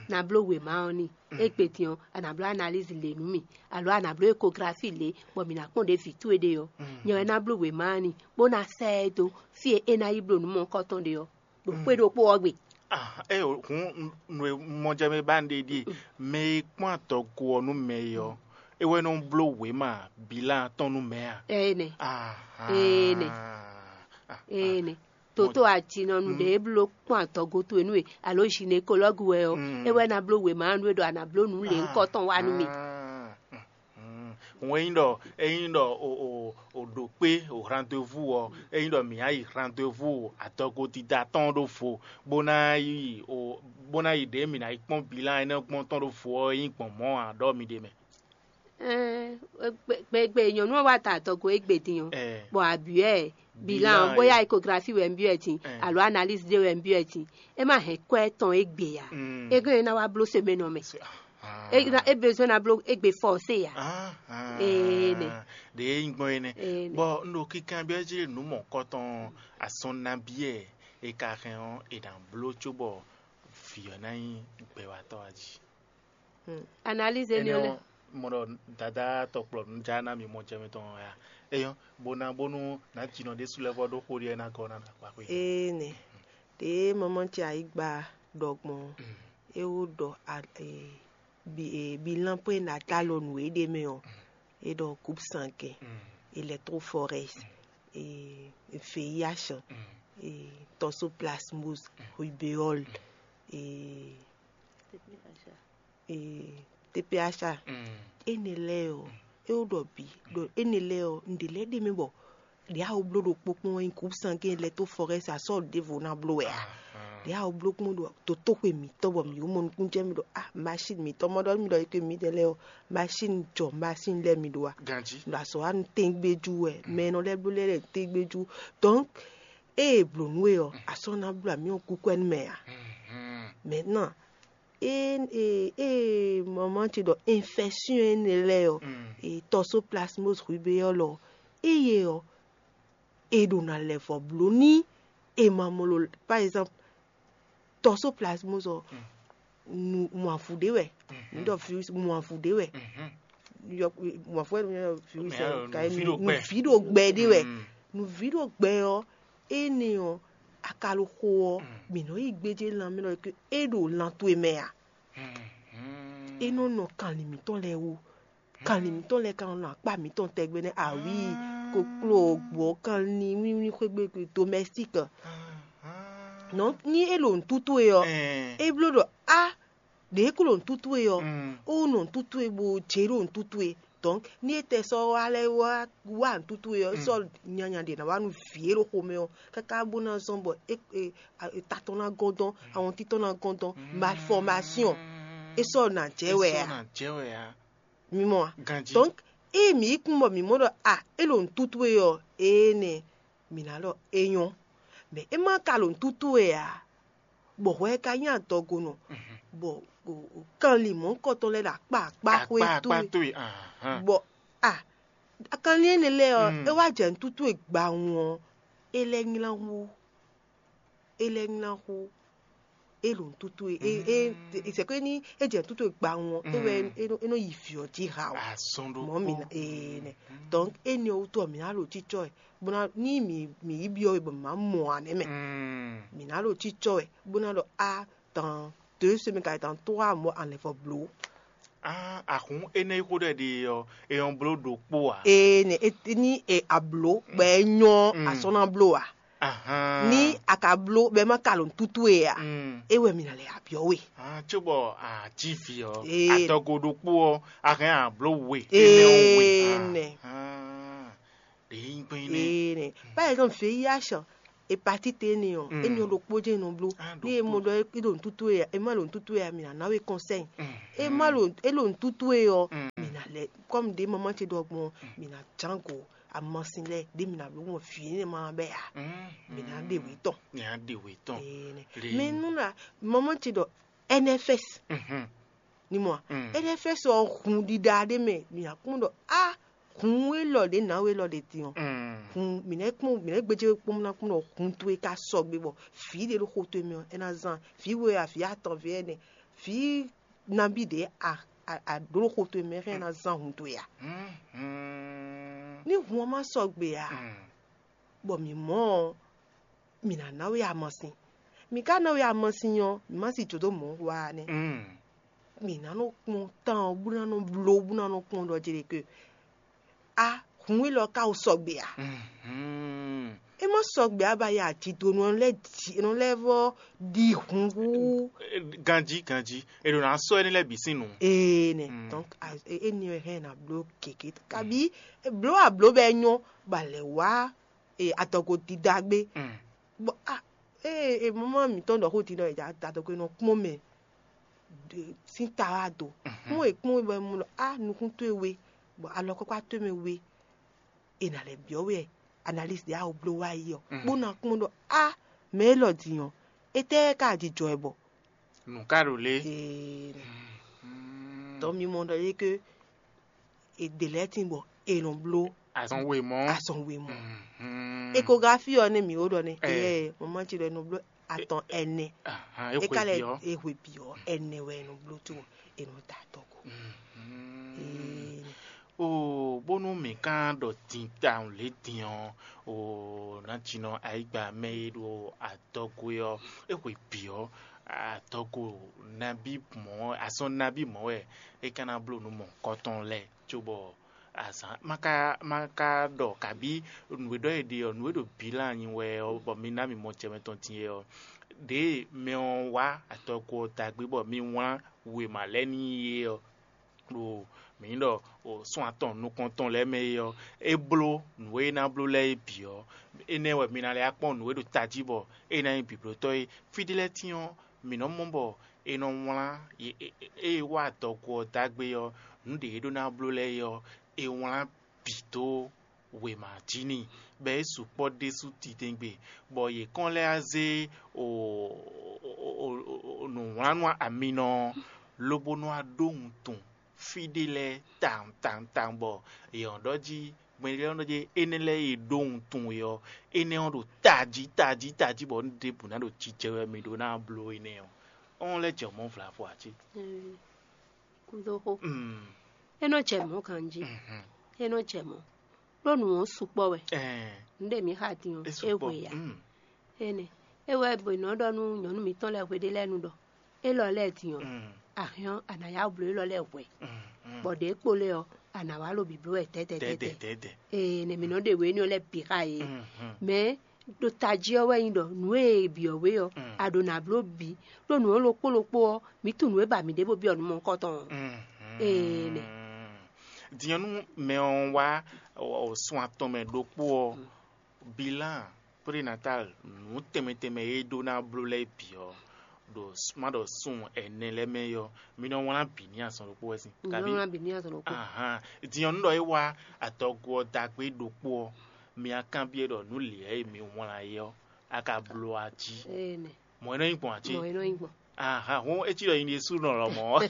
ná bló wěma ɔ́ n'i. Égbé din ɔ́, a nǎ bló analízi lě nú mì, alo a nǎ bló ekografi lě, bɔ mǐ ná kpɔ́n ɖě vǐ towe ɖe ɔ́, nyɛ wɛ ná bló wěma ɔ́ n'i, bó ná sɛ́ ɛ dó fí e é ná yi bló nǔ mɔ̌hunkɔtɔn ɖe ɔ́, ɖo xwé ɖokpó ɔ́ gbe. Ah, é o, hǔn nǔ e mɔ jɛ mɛ ba un ɖe ɖíe, mɛ e kpɔ́n adɔgo ɔ́ nú mɛ é ɔ́, é wɛ nɔ bló wěma bilan tɔn nú mɛ a? Ɛnɛ. Ahan. Ɛnɛ. Ɛnɛ. Toto ajinɔnu ɖě bló kpɔ́n adɔgo towe nú we, alo zinekɔlɔ́gu wɛ ɔ́, é wɛ ná bló wěma nú we ɖɔ a nǎ bló nǔ lě ŋkɔtɔn wá nú mì. Hǔn ényí ɖɔ ényí ɖɔ o o o ɖo kpé o rendez-vous ɔ́, ényí ɖɔ mǐ ná yi rendez-vous adɔgo dídá tɔn ɖó vo, bó ná yi o bó ná yi ɖě mǐ ná yi kpɔ́n bilan énɛ́ gbɔn tɔn ɖó vo ɔ́, é nyí gbɔn mɔ̌ ǎ ɖɔ mi ɖe mɛ. Gbegbe nyɔ̌nu ɔ́ wá ta adɔgo égbé din ɔ́, bɔ a byɔ́ ɛ bilan ɔ́, bóyá échographie wɛ un byɔ́ ɛ din, alo analyse ɖé wɛ un byɔ́ ɛ din, é má hɛn kwɛ́ tɔn égbé ǎ. É gɔ́n é ná wá bló semaine ɔ́ mɛ. É ná- é besoin ná bló égbé forcé ǎ. Ee nɛ. Ɖě é nyí gbɔn é nɛ́. Bɔ un ɖo kinkanbyɔ́ jí ɖe nǔ mɔ̌hunkɔtɔn asɔn nabí ɛ è ka hɛn ɔ́, è nǎ bló cóbɔ vǐ ɔ́ ná nyí gbɛwatɔ́ ɔ́ jí. Analyse énɛ́ ɔ́ lɛ́. Mɔ ɖɔ dada tɔkplɔ nú já ná mi mɔ jɛ mitɔn ɔ́ ya. Eyɔ́, bó ná bónú nǎ jinɔ ɖésú lɛ́ vɔ ɖó xó ɖiɛ ná gɔ́ ná ɖo akpa xwé. Ee nɛ. Ɖě mɔmɔ ce ayǐgba ɖɔ gbɔn é wó ɖɔ bilan pwé ná ta lɔ nǔ e ɖ'é mɛ ɔ́, é ɖɔ groupe sanguin, électrophorèse, V I H, toxoplasmose, rubéole, T P H A. Énɛ́ lɛ́ɛ ɔ́, é wó ɖɔ bǐ ɖɔ énɛ́ lɛ́ɛ ɔ́, un ɖe lɛ́ɛ ɖ'é mɛ bɔ ɖě a wó bló ɖokpó kpɔ́n wɛ nyí groupe sanguin électrophorèse, a sɔ́ ɖěvo ná bló wɛ a? Ɖě a wó bló kpɔ́n ɖo dotóxwe mǐtɔn bɔ mǐ wó mɔ nukúnnú jɛ mì ɖɔ a machine mǐtɔn mɔ ɖɔ mì ɖɔ éke mǐdɛɛ lɛ́ɛ ɔ́, machine jɔ machine lɛ́ɛ mi ɖó a? Ganjí. Ɖo azɔ̌ wa nu tɛ́ngbéjú wɛ, mɛ e nɔ lɛ́ bló lɛ́ɛ lɛ́ɛ tɛ́ngbéjú. Donc ée è blǒ nú we ɔ́, a sɔ́ ná bló amǐ ɔ́ kúkú wɛ nú mɛ a? Maintenant, ée ée ée maman ce ɖɔ infection énɛ́ lɛ́ɛ ɔ́, e toxoplasmose rubéole ɔ́, ée ɔ́, e ɖo na lɛ vɔ bló ní e ma mɔ lo, par exemple, toxoplasmose ɔ́, nu mɔavu ɖé wɛ, nu ɖɔ virus mɔavu ɖé wɛ, mɔavu wɛ nu virus ɛ ka nu vi ɖo gbɛ ɖé wɛ, nu vi ɖo gbɛ ɔ́, énɛ́ ɔ́, akaloxo ɔ́, mǐ nɔ yi gbéjé lanmɛ lɔ ke é ɖo lan towe mɛ a? É nɔ nɔ kanlin mǐtɔn lɛ́ɛ wú. Kanlin mǐtɔn lɛ́ɛ ka nɔ nɔ akpá mǐtɔn tɛgbɛ nɛ́, awǐi, kokló, gbɔ̌, kanlin, wínwín xwé gbe domɛstík. Nɔ ní é ɖo nǔtútú e ɔ́, é bló ɖɔ á ɖě kó ɖo nǔtútú e ɔ́, ó nɔ nǔtútú e bó jɛ ɖo nǔtútú e. Donc ní é tɛ sɔ́ wá lɛ́ wá wá nǔtútú e ɔ́, é sɔ́ nyanya ɖě ná wá nú vǐ e ɖo xomɛ ɔ́ káká bó ná zɔ́n bɔ é é ta tɔn ná gɔ́n dɔn, awɔntín tɔn ná gɔ́n dɔn, malformation, é sɔ́ nǎ jɛ wɛ a? Mi mɔ a? Donc ée mǐ yi kún bɔ mǐ mɔ ɖɔ a é ɖo nǔtútú e ɔ́, ee nɛ mǐ ná ɖɔ é nyɔ́. Mɛ é má ka ɖo nǔtútú e ǎ, bɔ hwɛ ka nyí adɔgonɔ, bɔ kanlin mɔ̌hunkɔtɔn lɛ́ɛ ɖo akpá akpá xwé towe, bɔ a kanlin énɛ́ lɛ́ɛ ɔ́, é wá jɛ nǔtútú e gbawun ɔ́, é lɛ́ nylá hú, é lɛ́ nylá hú. É ɖo nǔtútú e é é c'est que ní é jɛ nǔtútú e gbawun ɔ́, é wɛ é nɔ- é nɔ yi vǐ ɔ́ jí ha o. Azɔn ɖo Mɔ̌ mi na ee nɛ. Donc éni ɔ́ wútu ɔ́, mǐ ná ɖo cícɔ ɛ bó ná ní mǐ mǐ yi byɔ́ we bɔ mǐ má mɔ ǎ nɛ́ mɛ. Mǐ ná ɖo cícɔ ɛ bó ná ɖɔ a dans deux semaines ka dans trois mois enlève bló. Ah, ahun énɛ́ yi xó ɖɔ ɖe ɔ́, é nyɔ́ bló ɖokpó ǎ. Ee nɛ é ní e abló bɔ é nyɔ́ asɔ́ ná bló ǎ. Ní a ka bló bɔ é má ka ɖo nǔtútú e ǎ, é wɛ mi ná lɛ abyɔ́ we. Cóbɔ a cí vǐ ɔ́, Ee. Adɔgo ɖokpó ɔ́, a hɛn a bló we. Énɛ́ ɔ́ we. Ee nɛ. Ɖě nyí gbɛn nɛ. Ee nɛ. Par exemple, V I H, hepatite énɛ́ ɔ́, énɛ́ ɔ́ ɖokpó jɛ́n è nɔ bló. Ní è mɔ ɖɔ é ɖo nǔtútú wɛ ǎ, é má ɖo nǔtútú wɛ ǎ, mǐ ná ná we kɔnsɛ́. É má ɖo é ɖo nǔtútú wɛ ɔ́, mǐ ná lɛ́ kɔ́mu ɖě mamá ce ɖɔ gbɔn ɔ́, mǐ ná ján go amasin lɛ́ɛ ɖě mǐ ná bló gbɔn vǐ énɛ́ ma bɛ́ ǎ. Mǐ ná ɖe wě tɔn. Mǐ ná ɖe wě tɔn. Mɛ nú na mamá ce ɖɔ N F S. Ní mɔ a? N F S ɔ́ hun ɖiɖa ɖé mɛ, mǐ ná kpɔ́n ɖɔ á hun élɔ́ ɖě nǎwe élɔ́ ɖě din ɔ́, hun mǐ nɛ́ kpɔ́n mǐ nɛ́ gbéjé kpɔ́n ná kpɔ́n ɖɔ hun towe ka sɔgbe bɔ vǐ ɖé ɖo xo towe mɛ ɔ́, é ná zán vǐ we a, vǐ atɔn, vǐ ɛnɛ, vǐ nabí ɖě a a a ɖǒ ɖo xo towe mɛ hɛn é ná zán hun towe a? Ní hun ɔ́ má sɔgbe a, bɔ mǐ mɔ ɔ́, mǐ ná ná we amasin. Mǐ ka ná we amasin ɔ́, mǐ má si jǒ dó mɔ̌ wa ɔ́ nɛ́. Mǐ ná nɔ kpɔ́n tán ɔ́ bó ná nɔ bló bó ná nɔ kpɔ́n ɖɔ jí ɖe ke a hun élɔ́ ka wo sɔgbe a? É má sɔgbe a ba ya jǐdonu ɔ́ lɛ́ ji nɔ lɛ́ vɔ ɖi hun hú. Ganjí ganjí, è ɖo ná sɔ́ énɛ́ lɛ́ɛ bǐ sín nǔ. Ee nɛ donc éni wɛ hɛn na bló gěgé kabi bló abló bɛ nyɔ ba lɛ wá adɔgo dida gbé. Bɔ a ee mama mǐtɔn ɖɔ xó din ɖɔ è ja adɔgo e nɔ kpɔ́n mɛ sín ta wá do. Kpɔ́n e kpɔ́n e bɔ mu ɖɔ a nukún towe we bɔ alɔkɔkpa towe mɛ we è nǎ lɛ́ byɔ́ we analyse ɖě a wǒ bló wá yi ɔ́ bó ná kpɔ́n ɖɔ a mɛ élɔ́ din ɔ́, étɛ́ ka jijɔ ɛ bɔ? Nǔ ka ɖo lé? Ee, donc mi mɔ ɖɔ é ke è ɖe lɛ́ɛ tín bɔ è nɔ bló azɔn wemɔ. Azɔn wemɔ. Échographie ɔ́ nɛ mǐ ó ɖɔ nɛ eyɛ mama ce ɖɔ è nɔ bló atɔn ɛnɛ. É ka lɛ é hwe bǐ ɔ́, ɛnɛ wɛ è nɔ bló có è nɔ da tɔ́ ko. Oo, bónú mǐ ka ɖɔ din tawun lě din ɔ́, oo, nǎjínɔ ayǐgba mɛ e ɖo adɔgo é ɔ́, é hwe bǐ ɔ́, adɔgo nabí mɔ̌, azɔn nabí mɔ̌ wɛ é ka ná bló nǔ mɔ̌hunkɔtɔn lɛ́ɛ cóbɔ azǎn ma ka ma ka ɖɔ kabí nǔ e ɖɔ è ɖe ɔ́, nǔ e ɖo bǐ lɛ́ɛ anyi wɛ ɔ́, bɔ mi ná mi mɔ jɛ mɛ tɔn din é ɔ́, ɖěe mɛ ɔ́ wá adɔgo ɔ́ da gbé bɔ mi wlán wěma lɛ́ɛ n'i é ɔ́, ɖo mǐ ɖɔ o sɔ́n atɔn nukɔntɔn lɛ́ɛ mɛ é ɔ́, é bló nǔ e é ná bló lɛ́ɛ é bǐ ɔ́, énɛ́ wɛ mi ná lɛ́ kpɔ́n nǔ e ɖo tají bɔ é ná nyí bǐblótɔ́ é. Fí ɖé lɛ́ɛ tín ɔ́, mǐ nɔ́ mɔ bɔ è nɔ wlán ée wá adɔgo ɔ́ dó agbe ɔ́, nǔ ɖě é ɖó ná bló lɛ́ɛ é ɔ́, è wlán bǐ dó wěma jí n'i, bɔ é sukpɔ́ ɖésú titewungbe, bɔ yě kɔn lɛ́ wá zé nǔwlánnú aminɔ ɔ́, lobo nɔ wá ɖó wuntun fí ɖé lɛ́ɛ tawun tawun tawun, bɔ yě nɔ ɖɔ jí gbɛɖé ɔ́ nɔ ɖɔ jí énɛ́ lɛ́ɛ e ɖó wuntun we ɔ́, énɛ́ ɔ́ ɖo tají tají tají, bɔ nǔ ɖěbǔ ná ɖo jijɛ wɛ mi ɖó ná bló énɛ́ ɔ́, ɔ́n lɛ́ jɛ mɔ̌ vlavo ǎ cé? Kúdóxó. É nɔ jɛ mɔ̌ ganjí. É nɔ jɛ mɔ̌. Ɖó nǔ ɔ́ sukpɔ́ wɛ. Nǔ ɖe mǐ xa din ɔ́, é hwe ǎ. Énɛ́ é wɛ è nɔ ɖɔ nú nyɔ̌nu mǐtɔn lɛ́ɛ hweɖé lɛ́ɛ nu ɖɔ élɔ́ lɛ́ɛ din ɔ́, a hɛn ɔ́, a nǎ yá wǔ bló élɔ́ lɛ́ɛ hwɛ̌, bɔ ɖě kpo lɛ́ɛ ɔ́, a nǎ wá lo bǐ bló wɛ dɛ̌dɛ̌dɛ̌. Ee, nɛ mǐ nɔ ɖe wě énɛ́ lɛ́ɛ bǐ xa yě. Mɛ ɖo tají ɔ́ wɛ nyí ɖɔ nǔ e è byɔ̌ we ɔ́, a ɖǒ ná bló bǐ, ɖó nǔ ɔ́ ɖokpó ɖokpó ɔ́, mǐ tunwun nǔ e ba mǐ ɖěvo byɔ́ nǔ mɔ̌hunkɔtɔn ɔ́. Ee, nɛ. Din ɔ́, nú mɛ ɔ́ wá sun atɔn mɛ ɖokpó ɔ́, bilan prénatal nǔ tɛnmɛ tɛnmɛ e é ɖó ná bló lɛ́ɛ bǐ ɔ́, ɖo má ɖɔ sun ɛnɛ lɛ́ɛ mɛ é ɔ́, mi nɔ wlán bǐ ní azɔn ɖokpó wɛ sín. Kabi? Nɔ wlán bǐ ní azɔn ɖokpó. Ahan. Din ɔ́, nú ɖɔ é wá adɔgo ɔ́ dagbe ɖokpó ɔ́, mi wá kanbyɔ́ ɖɔ nǔ lě e mi wlán é ɔ́, a ka bló a jí. Ee, nɛ. Mɔ̌ é nɔ nyí gbɔn ǎ cé? Mɔ̌ é nɔ nyí gbɔn. Ahan, hɔn é cí ɖɔ nyi ɖésú nɔ lɔmɔ̌.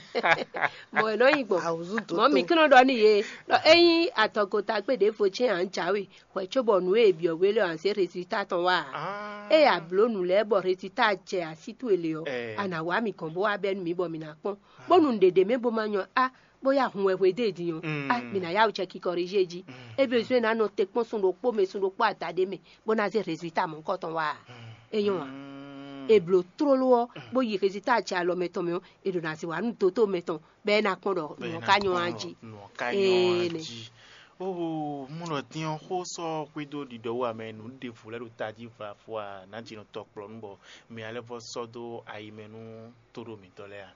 Mɔ̌ é nɔ nyí gbɔn. Awǔzú dó mɔ̌ mi tó. Kí nɔ ɖɔ n'i yě ɖɔ ényí adɔgo dagbe ɖěvo cɛ́n ǎ jǎwe hwɛ̌ cóbɔ nǔ e è byɔ̌ we lɛ́ɛ ɔ́, a nǎ zé rezilta tɔn wá ǎ. Ée a blǒ nǔ lɛ́ɛ bɔ rezilta jɛ así towe le ɔ́, a nǎ wá mì gɔ̌n bó wá bɛ́ nú mǐ bɔ mǐ ná kpɔ́n. Bónú nǔɖé ɖ'é mɛ bó ma nyɔ́ á, bó yá hun wɛ hwedó e din ɔ́, á mǐ ná yá wǔ cɛ kikɔrijí e jí. É be zɔ́n é ná nɔ te kpɔ́n sun ɖokpó mɛ, sun ɖokpó ada ɖé mɛ, bó ná zé rezilta mɔ̌hunkɔtɔn wá ǎ. É nyɔ́ ǎ. È blǒ tlóló ɔ́, bó yi rezilta jɛ alɔ mɛtɔn mɛ ɔ́, è ɖǒ ná zé wá nú dotóo mɛtɔn bɔ é ná kpɔ́n ɖɔ nǔ ɔ́ ka nyɔ́ á jí. Nǔ ɔ́ ka nyɔ́ á jí. Oo, mɔ ɖɔ din ɔ́ xó sɔ́ xwedó ɖiɖɔ wú amɛ nǔ ɖěvo lɛ́ɛ ɖo tají vlafo a nǎ ji nɔ tɔkplɔ́ nú bɔ mi ná lɛ́ vɔ́ sɔ́ dó ayi mɛ nú tóɖó mǐtɔn lɛ́ɛ a?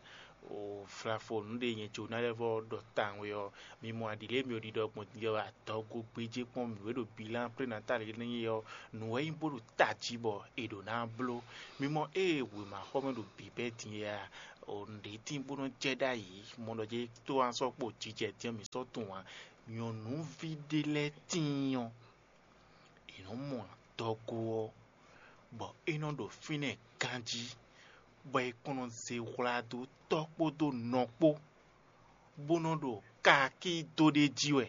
O flafo nǔ ɖe nyɛ Jona lɛ́ vɔ ɖɔ tawun wɛ ɔ́, mi mɔ aɖǐ lě mi ò ɖiɖɔ gbɔn din ɔ́, adɔgo gbéjé kpɔ́n mǐ wɛ ɖo bilan prénatal énɛ́ ɔ́, nǔ wɛ nyí bó ɖo tají bɔ è ɖǒ ná bló. Mi mɔ ée wěmaxɔmɛ ɖo bǐbɛ́ din é a, nǔɖé tín bó nɔ́ jɛ ɖ'ayǐ, mɔ ɖɔ jɛ tó wá sɔ́ kpo jijɛ din ɔ́, mǐ sɔ́ tunwun ǎ. Nyɔ̌nuví ɖé lɛ́ɛ tíin ɔ́, è nɔ́ mɔ adɔgo ɔ́, bɔ é nɔ ɖo fínɛ́ ganjí, bɔ è kɔn nɔ zé hwla dó tɔ́ kpódó nɔ kpó, bó nɔ́ ɖo kaakí dó ɖ'é jí wɛ.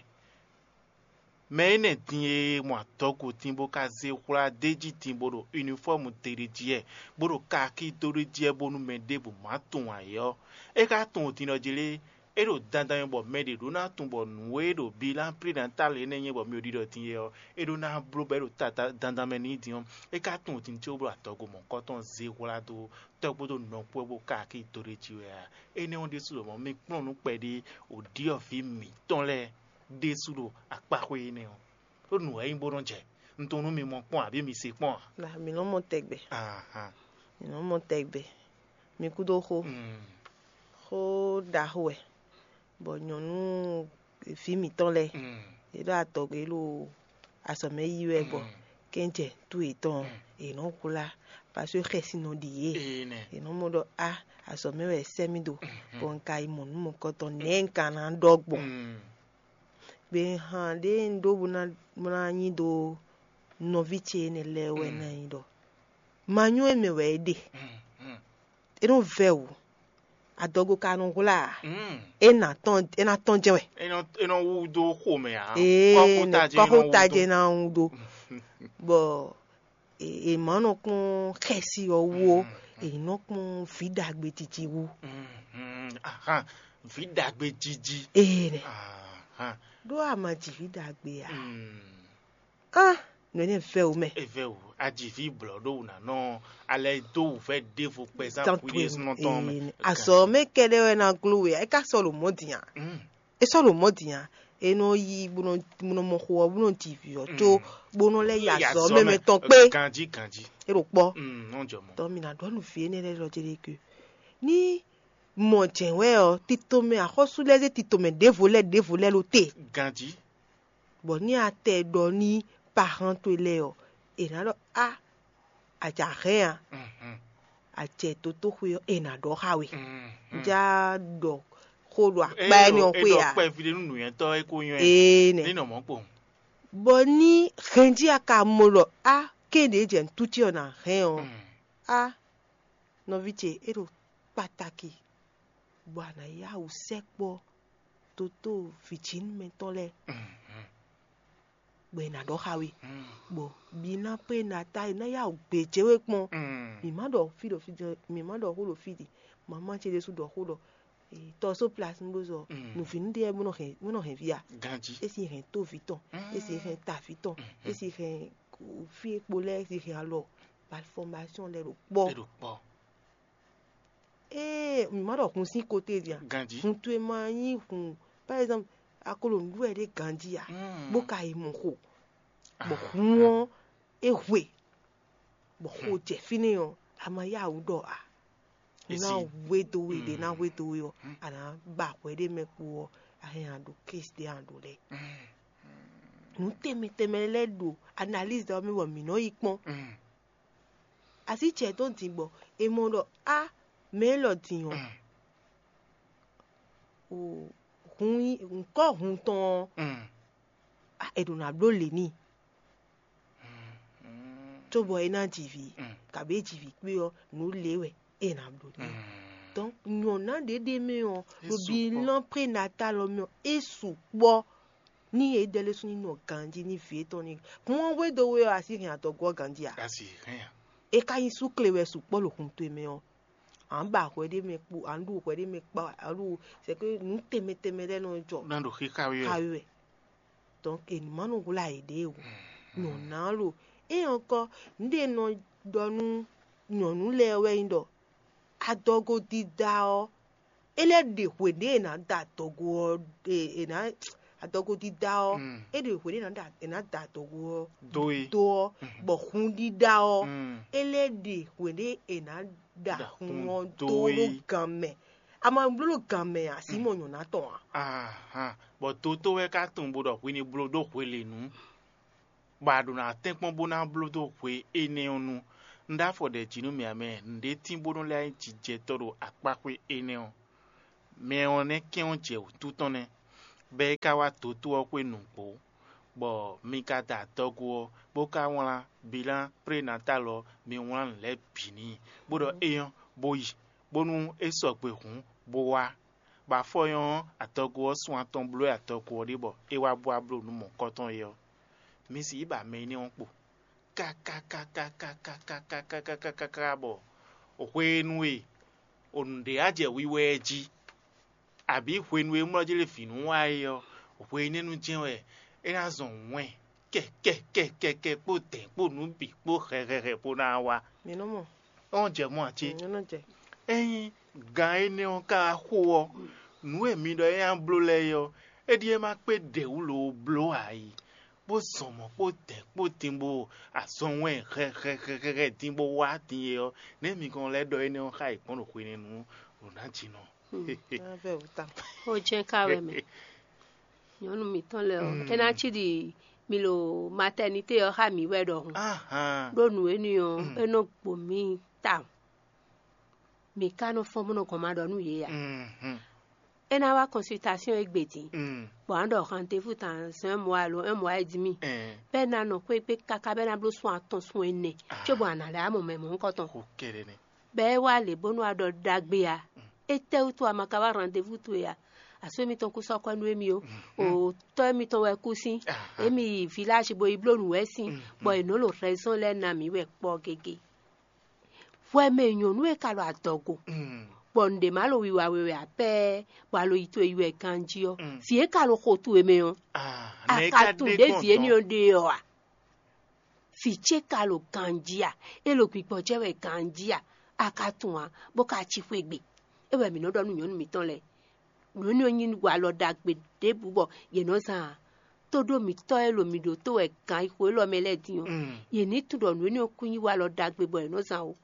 Mɛ énɛ́ din e mɔ adɔgo din bó ka zé hwla d'é jí din bó ɖo unifɔ́mu te ɖ'é jí wɛ, bó ɖo kaakí dó ɖ'é jí wɛ bónú mɛ ɖěbǔ má tunwun ǎ é ɔ́, é ka tunwun din ɖɔ jí lé? É ɖo dandan mɛ bɔ mɛ ɖě ɖó ná tunwun bɔ nǔ e ɖo bilan prénatal énɛ́ nyí bɔ mi ɖiɖɔ din é ɔ́, é ɖó ná bló bɔ é ɖo dandan mɛ n'i din ɔ́, é ka tunwun din có bó ɖo adɔgo mɔ̌hunkɔtɔn zé hwlá dó tɔ́ kpódó nɔ kpó wɛ bó ka akí dó ɖ'é jí wɛ a? Énɛ́ ɔ́ ɖésú ɖɔ mɔ̌ mi kplɔ́n nǔ kpɛɖé wǒ ɖyɔ̌vǐ mǐtɔn lɛ́ɛ ɖésú ɖo akpáxwé énɛ́ ɔ́, ɖó nǔ wɛ é nyí bó nɔ́ jɛ. Un tunwun nú mi mɔ kpɔ́n ǎ, abǐ mi se kpɔ́n ǎ? Na mi nɔ mɔ tɛgbɛ. Ahan. Mi nɔ mɔ tɛgbɛ. Mi kúdó xó. Mm. Xó ɖaxó wɛ, bɔ nyɔ̌nu vǐ mǐtɔn lɛ́ɛ, Mm. Yě ɖo adɔgbe ɖo azɔ̌ mɛ yí wɛ, bɔ Mm. kɛ́njɛ nǔtú yětɔn, Mm. Yě nɔ hwlá, paseke xɛsi nɔ ɖi yě. Ee nɛ. Yě nɔ mɔ ɖɔ a, azɔ̌ mɛ wɛ è sɛ́ mì ɖo, Mm. Bɔ un ka yi mɔ nǔ mɔ̌kɔtɔn nɛ̌ un ka ná ɖɔ gbɔn? Mm. Gbe han ɖé un ɖó bó ná bó ná nyi ɖó nɔví ce énɛ́ lɛ́ɛ wɛ Mm. ná nyí ɖɔ ma nyɔ́ é mɛ wɛ é ɖe. Mm. Mm. É nɔ vɛ́ wǔ, adɔgo ka nɔ hwlá ǎ. Mm. É ná tɔn é ná tɔn jɛ́n wɛ. É nɔ é nɔ wú dó xomɛ ǎ. Ee, kɔ́xota jɛ́n é nɔ wú kɔ́xota dó. Jɛ́n ná wú ɖó. Bɔ è è má nɔ kpɔ́n xɛsi ɔ́ wú ó, Mm. È nɔ kpɔ́n vǐ ɖagbe titi wú. Mm. Mm. Ahan. Vǐ ɖagbe jiji. Ee nɛ. Ahan. Ɖó a ma ji vǐ ɖagbe ǎ. Mm. Á, nǔ énɛ́ vɛ́ wǔ mɛ. Evɛ́ wǔ, aji vǐ blɔ̌ ɖó wǔ ná nɔ alɛ dó wǔvɛ́ ɖěvo kpɛzán Tán hwi ɖésúnɔ tɔn mɛ. Ee, azɔ̌ mɛ kɛɖɛ́ wɛ ná gló we ǎ, é ka sɔ́ ɖo mɔ̌ din ǎ. Mm. É sɔ́ ɖo mɔ̌ din ǎ. É nɔ yí bó nɔ bó nɔ mɔ xo ɔ́, bó nɔ ji vǐ ɔ́ có Mm. bó nɔ lɛ́ yi Yi azɔ̌ azɔ̌ mɛ mɛ tɔn kpé. Ganjí ganjí. É ɖo kpɔ́. Mm, nɔ jɔ mɔ. Tɔ́ mi ná ɖɔ nú vǐ énɛ́ lɛ́ɛ ɖɔ jɛ ɖe ke ní mɔ jɛ̌n wɛ ɔ́, tito mɛ axɔ́sú lɛ́ɛ zé tito mɛ ɖěvo lɛ́ɛ ɖěvo lɛ́ɛ ɖó te. Ganjí. Bɔ ní a tɛ ɖɔ ní pahan towe lɛ́ɛ ɔ́, è nǎ ɖɔ á, a jǎ hɛn a, Mhm. A jɛ dotóxwé ɔ́, è nǎ ɖɔ xá we. Mhm. Un já ɖɔ xó ɖo akpá Ée énɛ́ ɔ ɔ́ é xwé ɖɔ a? Kpɛví ɖé nú nǔnywɛ́tɔ́ é kó nywɛ́. Ee nɛ. Ní nɔ mɔ̌ kpowun. Bɔ ní hɛn jí a ka mɔ ɖɔ á, kéɖě jɛ nǔtúcí ɔ́ ná hɛn ɔ́, Mm. Á, nɔví ce, é ɖo kpataki, bɔ a nǎ yá wǔ sɛkpɔ́ dotó vǐjínúmɛtɔ́ lɛ́ɛ, Mhm. Bɔ è nǎ ɖɔ xá we. Mhm. Bɔ mi ná pé ná ta, è nǎ yá wǔ gbějé we kpɔ́n. Mhm. Mǐ má ɖɔ fí ɖɔ fí ɖɔ, mǐ má ɖɔ xó ɖɔ fí ɖi. Mamá ce ɖésú ɖɔ xó ɖɔ, tɔ́ só plas bó zɔ, Mm. Nǔvínú ɖé bó nɔ hɛn bó nɔ hɛn via. Ganjí. É si hɛn tóvi tɔn, é si hɛn taví tɔn, é si hɛn fí e kpo lɛ́ɛ, é si hɛn alɔ, malfɔmasɔn lɛ́ɛ ɖo kpɔ́. É ɖo kpɔ́. Ee, mǐ má ɖɔ hun sín kote din a? Ganjí. Hun towe ma nyí hun, par exemple, a ko ɖo nǔɖuɖu wɛ ɖé ganjí a? Mm. Bó ka yi mɔ xo, bɔ hun ɔ́ é hwe, bɔ xo jɛ fínɛ́ ɔ́, a ma yá wǔ ɖɔ a? Ná hwedó we ɖě ná hwedó we ɔ́, a nǎ ba hwɛ ɖé mɛ kpo ɔ́, a hɛn a ɖo kési ɖé a ɖǒ lɛ́ɛ. Nǔ tɛnmɛ tɛnmɛ lɛ́ɛ ɖo analyse ɔ́ mɛ bɔ mǐ nɔ yi kpɔ́n. Así ce tɔn din bɔ è mɔ ɖɔ á, mɛ élɔ́ din ɔ́, o hun nyí ŋkɔ́ hun tɔn ɔ́, á, è ɖǒ ná bló lě n'i. Cóbɔ é ná ji vǐ, kabǐ é ji vǐ kpé ɔ́, nǔ lě wɛ é ná bló n'i. Donc nyɔ̌ná ɖě ɖ'é mɛ ɔ́, ɖo bilan prénatal ɔ́ mɛ ɔ́, é sukpɔ́. Ní yě dɛ lɛ́ɛ sú ní nɔ ganjí ní vǐ étɔn ní hun ɔ́ hwedó we ɔ́, a sí hɛn adɔgo ɔ́ ganjí ǎ. A sì hɛn a? É ka nyí súkle wɛ sukpɔ́ ɖo hun towe mɛ ɔ́, à ń ba hwɛ ɖé mɛ kpo, à ń ɖu hwɛ ɖé mɛ kpá, à ń ɖu c'est que nǔ tɛnmɛ tɛnmɛ lɛ́ɛ nɔ jɔ. Ná ɖo xíxá wí wɛ. Xá wí wɛ. Donc è nǐ má nɔ hwlá yěɖée o. Nyɔ̌ná lo. É ɔ́ kɔ, nǔɖé nɔ ɖɔ nú nyɔ̌nu lɛ́ɛ wɛ nyí ɖɔ adɔgo dídá ɔ́, é lɛ́ ɖe hwě ɖě è nǎ da adɔgo ɔ́, è è nǎ adɔgo dídá ɔ́, é ɖe hwě ɖě è nǎ da è nǎ da adɔgo ɔ́ Dó e. Dó ɔ́, bɔ hun dídá ɔ́, é lɛ́ ɖe hwě ɖě è nǎ da Da hun hun ɔ́ dó dó é. Ɖó gan mɛ. A ma bló ɖo gan mɛ ǎ, Simɔn nyɔ̌ná tɔn ǎ. Ahan, bɔ dotó wɛ ka tunwun bó ɖɔ hwi ní bló ɖó hwelěnu, bɔ a ɖo ná tɛ́nkpɔ́n bó ná bló dó hwe énɛ́ ɔ́ nu. Un ɖó afɔ ɖɛ jǐ nú mì ǎ mɛ, nǔɖé tín bónú lɛ́ nyí jijɛtɔ́ ɖo akpáxwé énɛ́ ɔ́. Mɛ ɔ́ nɛ́ kɛ́n ɔ́ jɛ wǔtu tɔn nɛ́, bɔ é ka wá dotó ɔ́ xwé nǔgbó, bɔ mi ka da adɔgo ɔ́, bó ka wlán bilán prénatal ɔ́, mi wlán nǔ lɛ́ɛ bǐ n'i, bó ɖɔ é nyɔ́, bó yi, bónú é sɔgbe hǔn, bó wá. Bɔ afɔ nyɔ́ ɔ́, adɔgo ɔ́ sun atɔn bló wɛ adɔgo ɔ́ ɖe bɔ é wá bó wá bló nǔ mɔ̌kɔtɔn é ɔ́, mi sixú ba mɛ énɛ́ ɔ́ kpo kákákákákákákákákákáká bɔ hwenu e o nǔɖé á jɛ wiwa ɛ jí, abǐ hwenu e mlɔ́ jí lé vǐ nú wa é ɔ́, hwenɛ́nu jɛ́n wɛ é ná zɔn wɛn kɛkɛkɛkɛkɛ kpó dɛ̌n kpó nǔ bǐ kpó hɛhɛhɛ bó ná wá. Mi nɔ mɔ. Ɔ́n jɛ mɔ ǎ cé? Mi nɔ jɛ. Ényí gan énɛ́ ɔ́ ka wá xo ɔ́, nǔ e mi ɖɔ é ná bló lɛ́ɛ é ɔ́, é ɖíe ma kpé ɖě wú lo bló ǎ é, bó zɔn mɔ̌ kpó dɛ̌n kpó din bó azɔn wɛn hɛhɛhɛhɛ din bó wá din é ɔ́, nɛ̌ mi kɔn lɛ́ ɖɔ énɛ́ ɔ́ xá yě gbɔn ɖo hwenɛ́nu ɖo nǎ jinɔ? Ná vɛ wú ta. Ó jẹ́ ká wɛ mɛ. Nyɔ̌nu mǐtɔn lɛ́ɛ ɔ́, é ná cí ɖi mi ɖo matɛnité ɔ́ xá mǐ wɛ ɖɔhun. Ahan. Ɖó nǔ énɛ́ ɔ́, é nɔ gbo mǐ tawun. Mǐ ka nɔ fɔ́n bó nɔ gɔn ma ɖɔ nú yě ǎ. Mhm. É ná wá kɔnsilitasyɔn égbé din, Mm. bɔ a nǎ ɖɔ rendez-vous dans un mois alo un mois et demi. Ɛn. Bɔ é ná nɔ xwé gbe káká bɔ é ná bló sun atɔn sun ɛnɛ, Ah. Cóbɔ a nǎ lɛ́ wá mɔ mɛ mɔ̌hunkɔtɔn. Xo kɛɖɛ nɛ. Bɔ é wá lě bónú a ɖɔ ɖagbe ǎ. Étɛ́wútu a ma ka wá rendez-vous towe ǎ? Asú émítɔn kú sɔ́ kwɛ́ nú émí ó. O tɔ́ émítɔn wɛ kú sín. Aha. Émí yi village bo yi bló nǔ wɛ sín. Mm, Bɔ mm. è nǒ ɖo raison lɛ́ɛ ná mǐ wɛ kpɔ́ gégé. Hwɛ mɛ nyɔ̌nu e ka ɖo adɔgo, Mm. bɔ nǔɖé ma ɖo wiwa we wɛ ǎ pɛ́ɛ, bɔ a lo yi towe yi wɛ ganjí ɔ́, Mm. vǐ e ka ɖo xo towe mɛ ɔ́, Ah, a nɛ̌ ka ka tunwun ɖě vǐ énɛ́ ɔ́ ɖe ɔ́ a? Vǐ ce ka ɖo ganjí a? É ɖo gbigbɔjɛ́ wɛ ganjí a? A ka tunwun ǎ, bó ka cí xwé gbe. É wɛ mǐ nɔ ɖɔ nú nyɔ̌nu mǐtɔn lɛ́ɛ. Nǔ énɛ́ ɔ́ nyí walɔ ɖagbe ɖěbǔ bɔ yě nɔ zán ǎ. Tóɖó mǐtɔn e ɖo mǐ ɖótó wɛ gǎn yi xo élɔ́ mɛ lɛ́ɛ din ɔ́, Mm. yě ní tunwun ɖɔ nǔ énɛ́ ɔ́ kún nyí walɔ ɖagbe bɔ yě nɔ zán ó.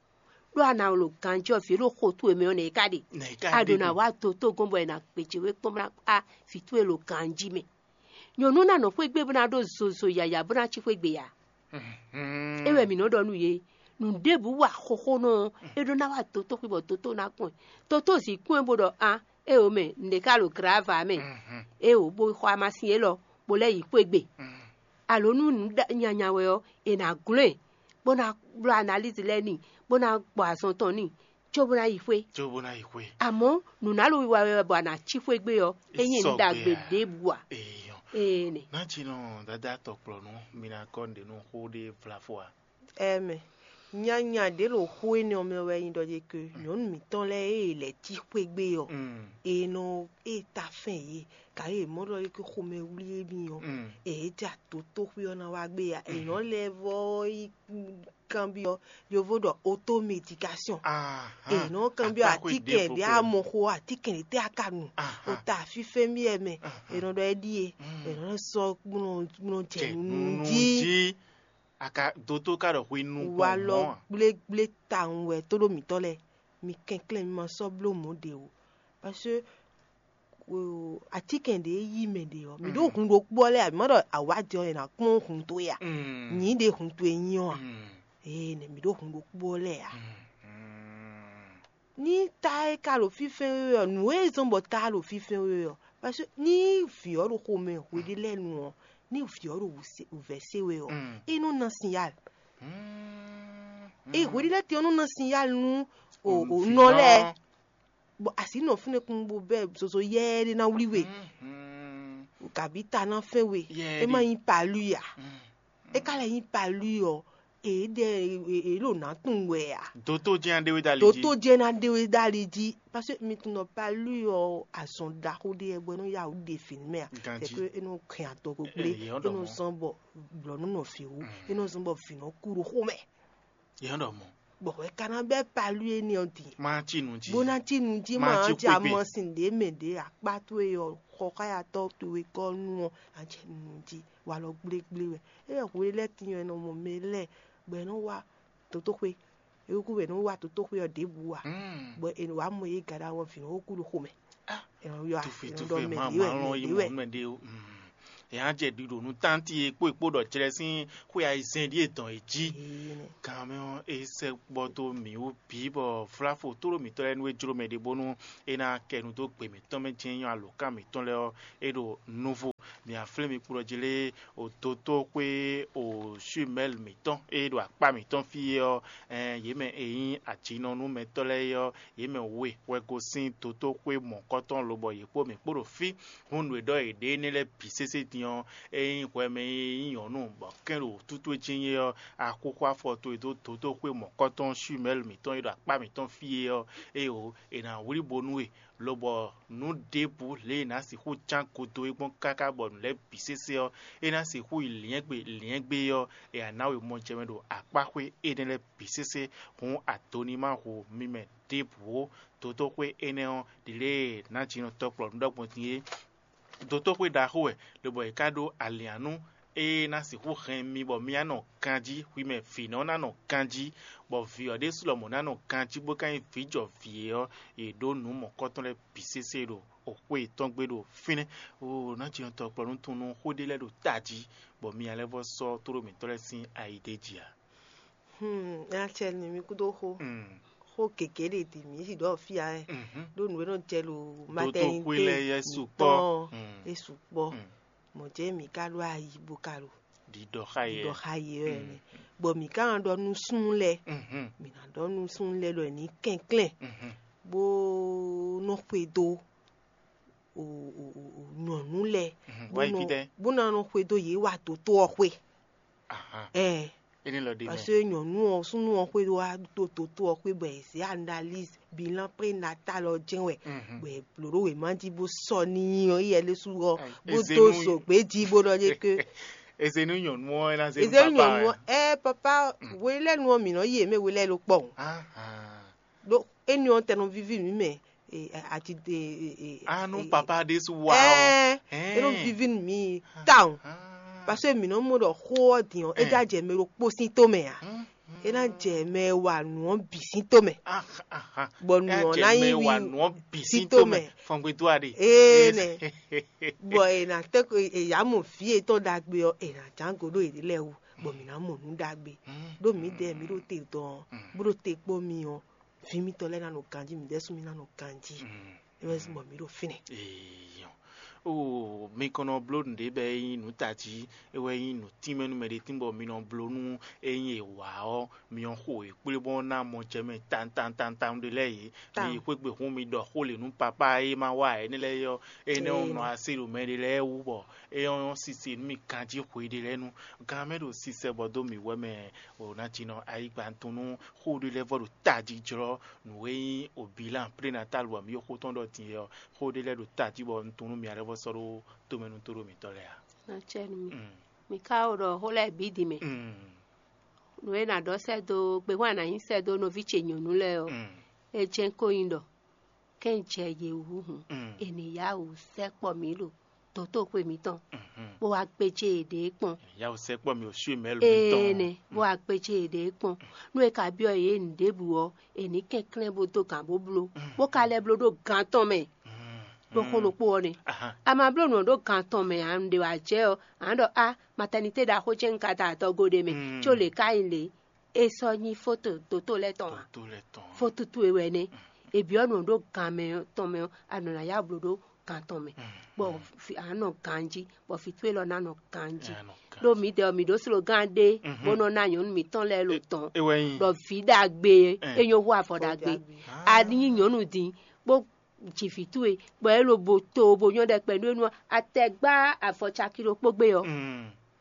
Ɖó a nǎ wlo ganjí ɔ́, vǐ e ɖo xo towe mɛ ɔ́ nɛ̌ é ka ɖe? Nɛ̌ é ka A ɖǒ ɖe ná gbɔn? Wá dotó gɔ́n bɔ è nǎ gbějé we kpɔ́n bó ná kpá vǐ towe ɖo ganjí mɛ. Nyɔ̌nu ná nɔ xwé gbe bó ná ɖó zozo yǎyá bó ná cí xwé gbe ǎ. Mhm. É wɛ mǐ nɔ ɖɔ nú yě. Nǔ ɖěbǔ wa xóxónɔ ɔ́, é ɖó ná wá dotó xwé bɔ dotó ná kpɔ́n ɛ. Dotó zi kpɔ́n ɛ bó ɖɔ: "An, éeǒ mɛ, nǔɖé ka ɖo glǎva mɛ." Mhm. Éeǒ, bó xɔ amasin élɔ́, bó lɛ́ yi xwé gbe. Mhm. Alo nú nǔ ɖa- nyanya wɛ ɔ́, è nǎ glɔ́n ɛ, bó ná bló analízi lɛ́ɛ n'i, bó ná gbɔ azɔn tɔn n'i, cóbó ná yi xwé. Cóbó ná yi xwé. Àmọ́, nǔnálo wiwa wɛ bɔ a nǎ cí xwé gbé ɔ́, é nyí nǔ ɖagbe ɖěbǔ ǎ. Èèyàn. Ee nɛ. Nátsinɔ dada tɔkplɔnu, mi ná kɔ nɖe nú xó ɖé vlafo a? Ɛmɛ, nyanya ɖě ɖo xó énɛ́ ɔ́ mɛ wɛ nyí ɖɔ ɖé ke nyɔ̌nu mǐtɔn lɛ́ɛ e è lɛ̌ cí xwé gbé ɔ́, Mm. è nɔ e ta fɛn yě, gǎ e mɔ ɖɔ é ké xomɛ wlí émí ɔ́, Mm. è jɛ atotóxwé ɔ́ ná wá gbé ya. È nɔ lɛ́ vɔ yi kanbyɔ́, yovo ɖɔ automédication. Ahan. È nɔ kanbyɔ́ Akpa xwé atíkɛn ɖěvo ɖě xwé. A mɔ xo atíkɛn ɖě tɛ́ a ka nu. Ahan. O ta fífɛ́ mì ɛ mɛ. Ahan. È nɔ ɖɔ é ɖíe. Mm. È nɔ sɔ́ gbɔn gbɔn jɛ Jɛ nu nunu jí. Jí. A ka dotó ka ɖɔ hwenu Wa gbɔn lɔ mɔ̌ a? Gblégblé tawun wɛ tóɖó mǐtɔn lɛ́ɛ. Mi kɛnklɛ́n mi ma sɔ́ bló mɔ̌ ɖě o. Parce que atíkɛn ɖě yí mɛ ɖě ɔ́, mǐ ɖó hun ɖokpó ɔ́ lɛ́ɛ a? Mǐ ma ɖɔ awǎjɛ ɔ́ è nǎ kpɔ́n hun towe a? Nyǐ ɖě hun towe nyí ɔ́ a? Ee, nɛ mǐ ɖó hun ɖokpó ɔ́ lɛ́ɛ a? Ní ta e ka ɖo fínfɛ́n we ɔ́, nǔ e zɔ́n bɔ ta ɖo fínfɛ́n we ɔ́, parce que ní vǐ ɔ́ ɖo xomɛ hweɖé lɛ́ɛ nu ɔ́, ní vǐ ɔ́ ɖo wǔvɛ́ se we ɔ́, é nɔ ná sinyal. E hweɖé lɛ́ɛ tɛn ɔ́ nɔ ná sinyal nú o o nɔ lɛ́ɛ. Bɔ asi nɔ fúnɛ́ kún bó bɛ́ zozo yɛ́ ɖé ná wlí we. Kabí ta ná fɛn we. É má nyí palu a? É ka lɛ nyí palu ɔ́, èé ɖɛ èé ɖo nǎ tunwun wɛ a? Dotó jɛ́n ná ɖe we dali jí. Dotó jɛ́n ná ɖe we dali jí. Parce que mi tunwun ɖɔ palu ɔ́, azɔn ɖaxó ɖé wɛ bɔ é nɔ yá wǔ ɖe fǐ mɛ a? Ganjí. C'est que é nɔ hɛn adɔgo gblé. Èyí ɔ́ É ɖɔ nɔ mɔ̌. Zɔ́n bɔ blɔ̌ nú nɔ vǐ wú. É nɔ zɔ́n bɔ vǐ nɔ kú ɖo xó mɛ. Yě nɔ ɖɔ mɔ̌. Bɔ hwɛ ka ná bɛ́ palu énɛ́ ɔ́ din. Má cí nu jí. Bó ná cí nu jí Má má cí ɔ́ jɛ xwé gbe. Amɔ sin ɖě mɛ ɖě akpá towe ɔ́, xɔxáyatɔ́ towe gɔ́ nu ɔ́, ná jɛ nu jí. Walɔ gblégblé wɛ. É wɛ hwe lɛ́ɛ tín ɔ́, è nɔ mɔ mɛ lɛ́ɛ bɔ è nɔ wá dotóxwé. Ewúkú wɛ nɔ wá tótóxwé ɔ́ ɖěbǔ ǎ. Bɔ è nɔ wá mɔ yě gǎ ɖo awɔvǐ ɔ́ wú kúɖo xomɛ. È nɔ yɔ, è nɔ ɖɔ mɛ ɖě wɛ, mɛ ɖě wɛ. Mɛ ɖě wɛ. È á jɛ ɖiɖo nú tánti e kpó è kpó ɖɔ jlɛ sín xwé ayizɛ́n ɖíe dɔn è jí. Gan mɛ ɔ́, é sɛkpɔ́ dó mǐ wú bǐ bɔ vláfo tóɖó mǐtɔn lɛ́ɛ nú é jló mɛ ɖé bónú é ná kɛ nu dó gbe mǐtɔn mɛ jɛ́n nyɔ́ alǒkan mǐtɔn lɛ́ɛ ɔ́, é ɖo nuvo. Mǐ á flín mi kplɔ́ jí lé o dotóxwé o Shumɛ́l mǐtɔn e ɖo akpá mǐtɔn fí é ɔ́, yě mɛ e nyí ajinɔnúmɛtɔ́ lɛ́ɛ é ɔ́, yě mɛ we wɛ gosín dotóxwé mɔ̌kɔtɔn lobɔ yě kpó mǐ kpó ɖo fí. Hǔn nǔ e ɖɔ yě ɖe énɛ́ lɛ́ɛ bǐ sésé din ɔ́, é nyí hwɛ mɛ e nyí nyɔ̌nu bɔ kɛ́n ɖo wǔtútú e jɛ́n nyí é ɔ́, axóxó afɔ towe dó dotóxwé mɔ̌kɔtɔn Shumɛ́l mǐtɔn e ɖo akpá mǐtɔn fí é ɔ́, éeǒ, è nǎ wlí bo nú we, lobɔ nǔ ɖěbǔ lě e è nǎ sixú cán godo é gbɔn káká bɔ nǔ lɛ́ɛ bǐ sésé ɔ́, é ná sixú yi lyɛ̌ngbe lyɛ̌ngbe ɔ́, è nǎ ná we mɔjɛmɛ ɖo akpáxwé énɛ́ lɛ́ɛ bǐ sésé. Hǔn ado ní ma hu mi mɛ ɖěbǔ ó. Dotóxwé énɛ́ ɔ́, ɖi lě e nǎjínɔ tɔkplɔ́nú ɖɔ gbɔn din é. Dotóxwé ɖaxó wɛ, lobɔ è ka ɖó alǐannú e ná sixú hɛn mi bɔ mi ná nɔ ganjí, hwi mɛ vǐ nɔ ná nɔ ganjí, bɔ vǐ ɔ́ ɖésú lɔmɔ̌ ná nɔ ganjí bó ka nyí vǐjɔvǐ é ɔ́, è ɖǒ nǔ mɔ̌kɔtɔn lɛ́ɛ bǐ sésé ɖo xwé yětɔn gbe ɖo fínɛ́. Oo, nǎjínɔ tɔkplɔ́nú tunwun nú xó ɖé lɛ́ɛ ɖo tají, bɔ mi ná lɛ́ vɔ́ sɔ́ tóɖó mǐtɔn lɛ́ɛ sín ayi d'é jí ǎ. Hmm, acɛ ni mi kúdó xó. Xó gěgé ɖe ɖi mǐ yi ɖɔ fia ɛ. Ɖó nǔ e nɔ jɛ lo matɛnité lɛ́ɛ yɛ sukpɔ́. Mǐtɔn ɛ sukpɔ́. Mɔ̌ jẹ́ mǐ ka ɖó ayi bó ka ɖo ɖiɖɔ xa yɛ ɖiɖɔ xa yɛ ɛ nɛ. Bɔ mǐ ka nɔ ɖɔ nú súnnu lɛ́ɛ. Mǐ ná ɖɔ nú súnnu lɛ́ɛ ɖɔ è ní kɛnklɛ́n bó nɔ xwedó o o o o nyɔ̌nu lɛ́ɛ bó nɔ bó ná nɔ xwedó yě wá dǒtó ɔ́ xwé. Ɛɛ. Parce que nyɔ̌nu ɔ́ súnnu ɔ́ xwedó wá dó dǒtó ɔ́ xwé bɔ è zě analyse bilan prénatal ɔ́ jɛ́n wɛ, bɔ è blǒ ɖó wěma jí bó sɔ́ n'i ɔ́, yɛ lé sú ɔ́ bó dó zǒgbé jí bó ɖɔ ɖé ké. Eze nú nyɔ̌nu ɔ́ é ná zé nú Eze papa nyɔ̌nu wɛ. Ɔ́, ɛ papa, welɛ́nu ɔ́ mǐ nɔ yi yě mɛ welɛ́ ló kpɔ́ o. Ɖó énɛ́ ɔ́ tɛ nɔ víví mǐ mɛ. Ati Anu papa ɖésú wa ɔ. Ɛɛ, é nɔ víví nú mǐ tawun. Parce que mǐ nɔ mɔ ɖɔ xó ɔ́ din ɔ́, é já jɛ mɛ ɖokpó sín tó mɛ ǎ. É ná jɛ mɛ e wa nǔ ɔ́ bǐ sín tó mɛ. Bɔ nǔ ɔ́ ná nyí wi sín tó mɛ. Fɔngbe tó a ɖe. Ee nɛ. Bɔ è nǎ tɛ́ ko è yǎ mɔ vǐ yětɔn ɖagbe ɔ́, è nǎ ján go ɖó yě lɛ́ɛ wú, bɔ mǐ ná mɔ nǔ ɖagbe. Ɖó mǐdɛɛ mǐ ɖo te dɔn ɔ́, bó ɖo te kpó mi ɔ́, vǐ mitɔn lɛ́ɛ ná nɔ ganjí, mǐdɛɛ sú mi ná nɔ ganjí. É wɛ zí bɔ mǐ ɖo fínɛ́. Eyɔn. Oo, mi kɔn nɔ bló nǔɖé bɔ é nyí nǔ tají, é wɛ nyí nǔ tínmɛ nú mɛɖé tín bɔ mi nɔ bló nú é nyí è wǎ ɔ́, mi nɔ xo è kplé bɔ ná mɔ jɛ mɛ tantantantan ɖé lɛ́ɛ yě. Mi yi xwé gbe hún mi ɖɔ xó lě nú papá e ma wa ǎ énɛ́ lɛ́ɛ ɔ́, énɛ́ ɔ́ nɔ así ɖo mɛ ɖé lɛ́ɛ wú bɔ é nyɔ́ sisi nú mi ganjí xwe ɖé lɛ́ɛ nu. Gan mɛ ɖo sisɛ bɔ dó mǐ wɛ mɛ o ná jí nɔ ayigba tɔn nú xó ɖé lɛ́ɛ vɔ ɖo tají jlɔ́ nǔ e nyí o bilan prénatal bɔ mǐ xó tɔn ɖɔ din ɔ́, xó ɖé lɛ́ɛ ɖo tají bɔ un tunú mǐ alɛ́ vɔ sɔ́ ɖó tomɛnútó ɖo mǐtɔn lɛ́ɛ ǎ. Nɔ cɛ nú mi. Mi ka wo ɖɔ xó lɛ́ɛ bǐ din mɛ. Nǔ e nǎ ɖɔ sɛ́ dó gbehwan nǎ nyí sɛ́ dó nɔví ce nyɔ̌nu lɛ́ɛ ɔ́, é jɛ́n ko nyí ɖɔ kɛ́n jɛ yě wú hǔn, è nǐ yá wǔ sɛkpɔ́ mǐ ɖo dotóxwe mǐtɔn, bó wá gbéjé yěɖée kpɔ́n. Yá wǔ sɛkpɔ́ mǐ ɖo sú mɛ̌lu mǐtɔn. Ee nɛ, bó wá gbéjé yěɖée kpɔ́n. Nú è ka byɔ́ yě nǔɖébǔ ɔ́, è nǐ kɛnklɛ́n bó dó gǎn bó bló, bó ka lɛ́ bló ɖó gǎn tɔn mɛ. Ɖó xó ɖokpó ɔ́ nɛ́. A ma bló nǔ ɔ́ ɖó gǎn tɔn mɛ ǎ, un ɖe wǎ jɛ ɔ́, a nǎ ɖɔ á, matɛnitée ɖaxó ce un ka da adɔgo ɖé mɛ, có lě ká nyí lě. É sɔ́ nyí fóto dǒtó lɛ́ɛ tɔn ǎ. Fótútú e wɛ nɛ́. È byɔ́ nǔ ɖó gǎn mɛ tɔn mɛ ɔ́, a nɔ ná yá blǒ ɖó gǎn tɔn mɛ, bɔ a nɔ ganjí, bɔ vǐ towe lɔ ná nɔ ganjí. Ɖó mǐdɛɛ ɔ́, mǐ ɖó slogán ɖé bó nɔ ná nyɔ̌nu mǐtɔn lɛ́ɛ lo tɔn, ɖɔ vǐ ɖagbe é nyɔ́ hú avɔ ɖagbe. A nyí nyɔ̌nu din bó ji vǐ towe, bɔ é lobo to bo nyɔ́ ɖɛkpɛ nú énú ɔ́, a tɛ gbá avɔ caki ɖokpó gbé ɔ́,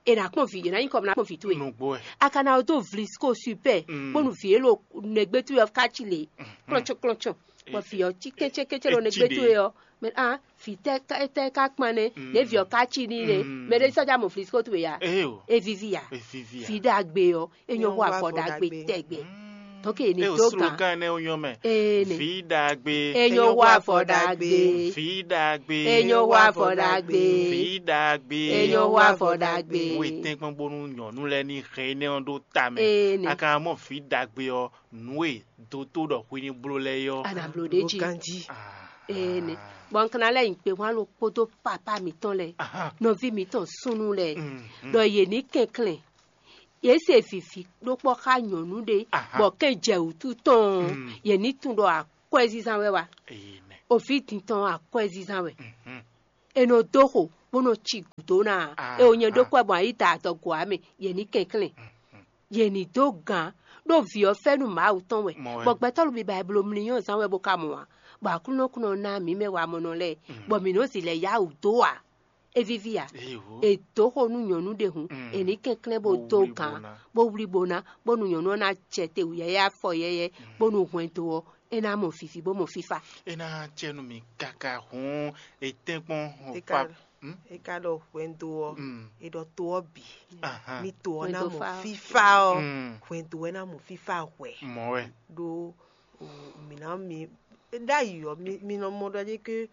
è nǎ kpɔ́n vǐ, è nǎ nyí kɔ bɔ ná kpɔ́n vǐ towe. A ka ná dó vlisco super bónú vǐ é lo nɛgbé towe ɔ́ ká cí lě klɔ́ntsɔ́n klɔ́ntsɔ́n, bɔ vǐ ɔ́ cí kɛ́cɛ́kɛ́cɛ́ ɖo nɛgbé towe ɔ́, mɛ ah vǐ tɛ́ tɛ́ ká kpán nɛ́, nɛ̌ vǐ ɔ́ ká cí n'i nɛ́? Mɛ ɖé sɔ́ já mɔ vlisco towe ya? É víví ya? Vǐ ɖagbe ɔ́, é nyɔ́ hú avɔ ɖagbe tɛgbɛ. Donc, e ní dó gán. Kan énɛ́ nyɔ́ mɛ. Ee, ne. Vǐ ɖagbe. Enyo wá vɔ ɖagbe. Vǐ ɖagbe. Enyo wá vɔ ɖagbe. Vǐ ɖagbe. Enyo wá vɔ ɖagbe. Wetɛ́nkpɔ́n bónú nyɔ̌nu lɛ́ɛ ní hɛn énɛ́ ɔ́ ɖó ta mɛ. Ee, ne. A ka mɔ vǐ ɖagbe ɔ́, nǔ e dótó ɖɔ hwi ní bló lɛ́ɛ ɔ́. A nǎ bló ɖ'é jí. Ganjí. Ah. Ee, ne. Bɔ un ka ná lɛ́ nyi kpehwán ɖokpódó papá mǐtɔn lɛ́ɛ, nɔví mǐtɔn súnnu lɛ́ɛ, ɖɔ yě ní kɛnklɛ́n. Yě se vǐví ɖó kpɔ́ xá nyɔ̌nu ɖé, bɔ kɛn jɛ wǔtu tɔn ɔ́, yě ní tunwun ɖɔ akwɛ́zínzán wɛ wá. Oví din tɔn ɔ́, akwɛ́zínzán wɛ. È nɔ dó xo, bó nɔ ci gǔdo ná. E ò nyɛ ɖó kpɛ́ gbɔn ayi da adɔgo ǎ mɛ, yě ní kɛnklɛ́n. Yě ní dó gǎn, ɖó vǐ ɔ́ fɛ́nú Mawu tɔn wɛ. Bɔ gbɛtɔ́ lobíba e bló mlínyɔ́ zán wɛ bó ka mɔ ǎ, bɔ Aklúnɔ kún nɔ ná mǐ mɛ wamɔnɔ lɛ́ɛ, bɔ mǐ nɔ́ zi lɛ̌ yá wǔ dó ǎ. É víví ǎ. È dǒ xo nú nyɔ̌nu ɖé hǔn, è ní kɛnklɛ́n bó dó gǎn, bó wlí bó ná, bónú nyɔ̌nu ɔ́ ná jɛ te wǔyɛ́yɛ́ afɔ yɛ́yɛ́, bónú hwɛndo ɔ́, é ná mɔ vǐví bó mɔ fífá. É ná jɛ nú mì káká hǔn, è tɛ́nkpɔ́n. È ka ɖɔ hwɛndo ɔ́, è ɖɔ to ɔ́ bǐ. Ní to ɔ́ ná mɔ fífá ɔ́, hwɛndo ɔ́ ná mɔ fífá hwɛ. Mɔ̌ wɛ. Ɖó mǐ ná mi ɖ'ayǐ ɔ́, mi nɔ mɔ ɖɔ ɖé ké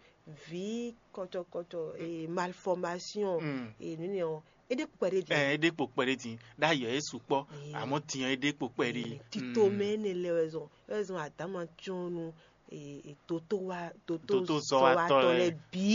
vǐ kɔcɔkɔcɔ, malformation, nǔnɛ ɔ́, é ɖe kpɛɖé din. Ɛ é ɖe kpo kpɛɖé din. Ɖ'ayǐ ɔ́, é sukpɔ́. Amɔ̌ din ɔ́, é ɖe kpo kpɛɖé. Tito mɛ énɛ́ lɛ́ɛ wɛ zɔn, wɛ zɔn adǎma cyɔ́n nú toto wa toto zɔwatɔ lɛ́ɛ bǐ.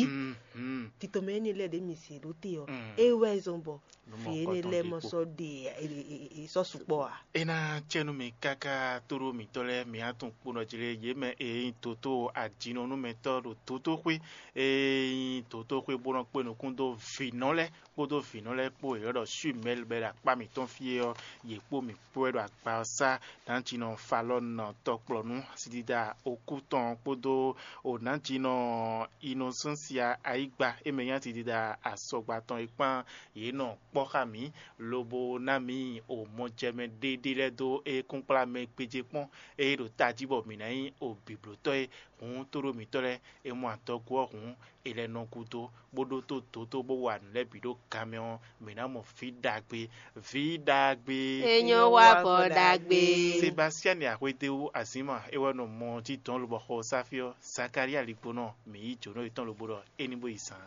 Tito mɛ énɛ́ lɛ́ɛ ɖě mi se ɖó te ɔ́, é wɛ zɔn bɔ vǐ énɛ́ lɛ́ɛ mɔ sɔ́ ɖe sɔ́ sukpɔ́ ǎ. É ná cɛ nú mi káká tóɖó mǐtɔn lɛ́ɛ, mǐ á tunwun kponɔ jí lé yě mɛ e nyí toto ajinɔnúmɛtɔ́ ɖo totóxwé, e nyí totóxwé bó nɔ kpé nukún dó vǐnɔ lɛ́ɛ kpódó vǐnɔ lɛ́ɛ kpó e ylɔ́ ɖɔ Suimɛl bɔ é ɖo akpá mǐtɔn fí é ɔ́, yě kpó mǐ kpó wɛ ɖo agba ɔ́ sá. Nǎjinɔ Falɔ́ɔn tɔkplɔ̌nú asidida okú tɔn kpódó o nǎjinɔ Inosɛ́nsia ayígba e mɛ nyí asidida asɔgba tɔn é kpán yě nɔ kpɔ́ xá mǐ, lobo ná mǐ o mɔjɛmɛ ɖéɖé lɛ́ɛ dó é kúnkplá mɛ gbéjé kpɔ́n, ée ɖo tají bɔ mǐ ná nyí o bǐblótɔ́ é. Hǔn tóɖó mǐtɔn lɛ́ɛ, è mɔ adɔgo ɔ́ hǔn, è lɛ́ nɔ gúdo, bó ɖótó dǒdó bó wa nǔ lɛ́ɛ bǐ ɖó gan mɛ ɔ́, mǐ ná mɔ vǐ ɖagbe. Vǐ ɖagbe. Enyo wá vɔ ɖagbe. Sebasiani Axwedéwu Azima é wɛ nɔ mɔ jí dɔn lobɔ xɔ Safi ɔ́, Zakalía Ligbonɔ, mǐ yí jǒnɔ yětɔn lobo ɖɔ é ní bó yi zaan.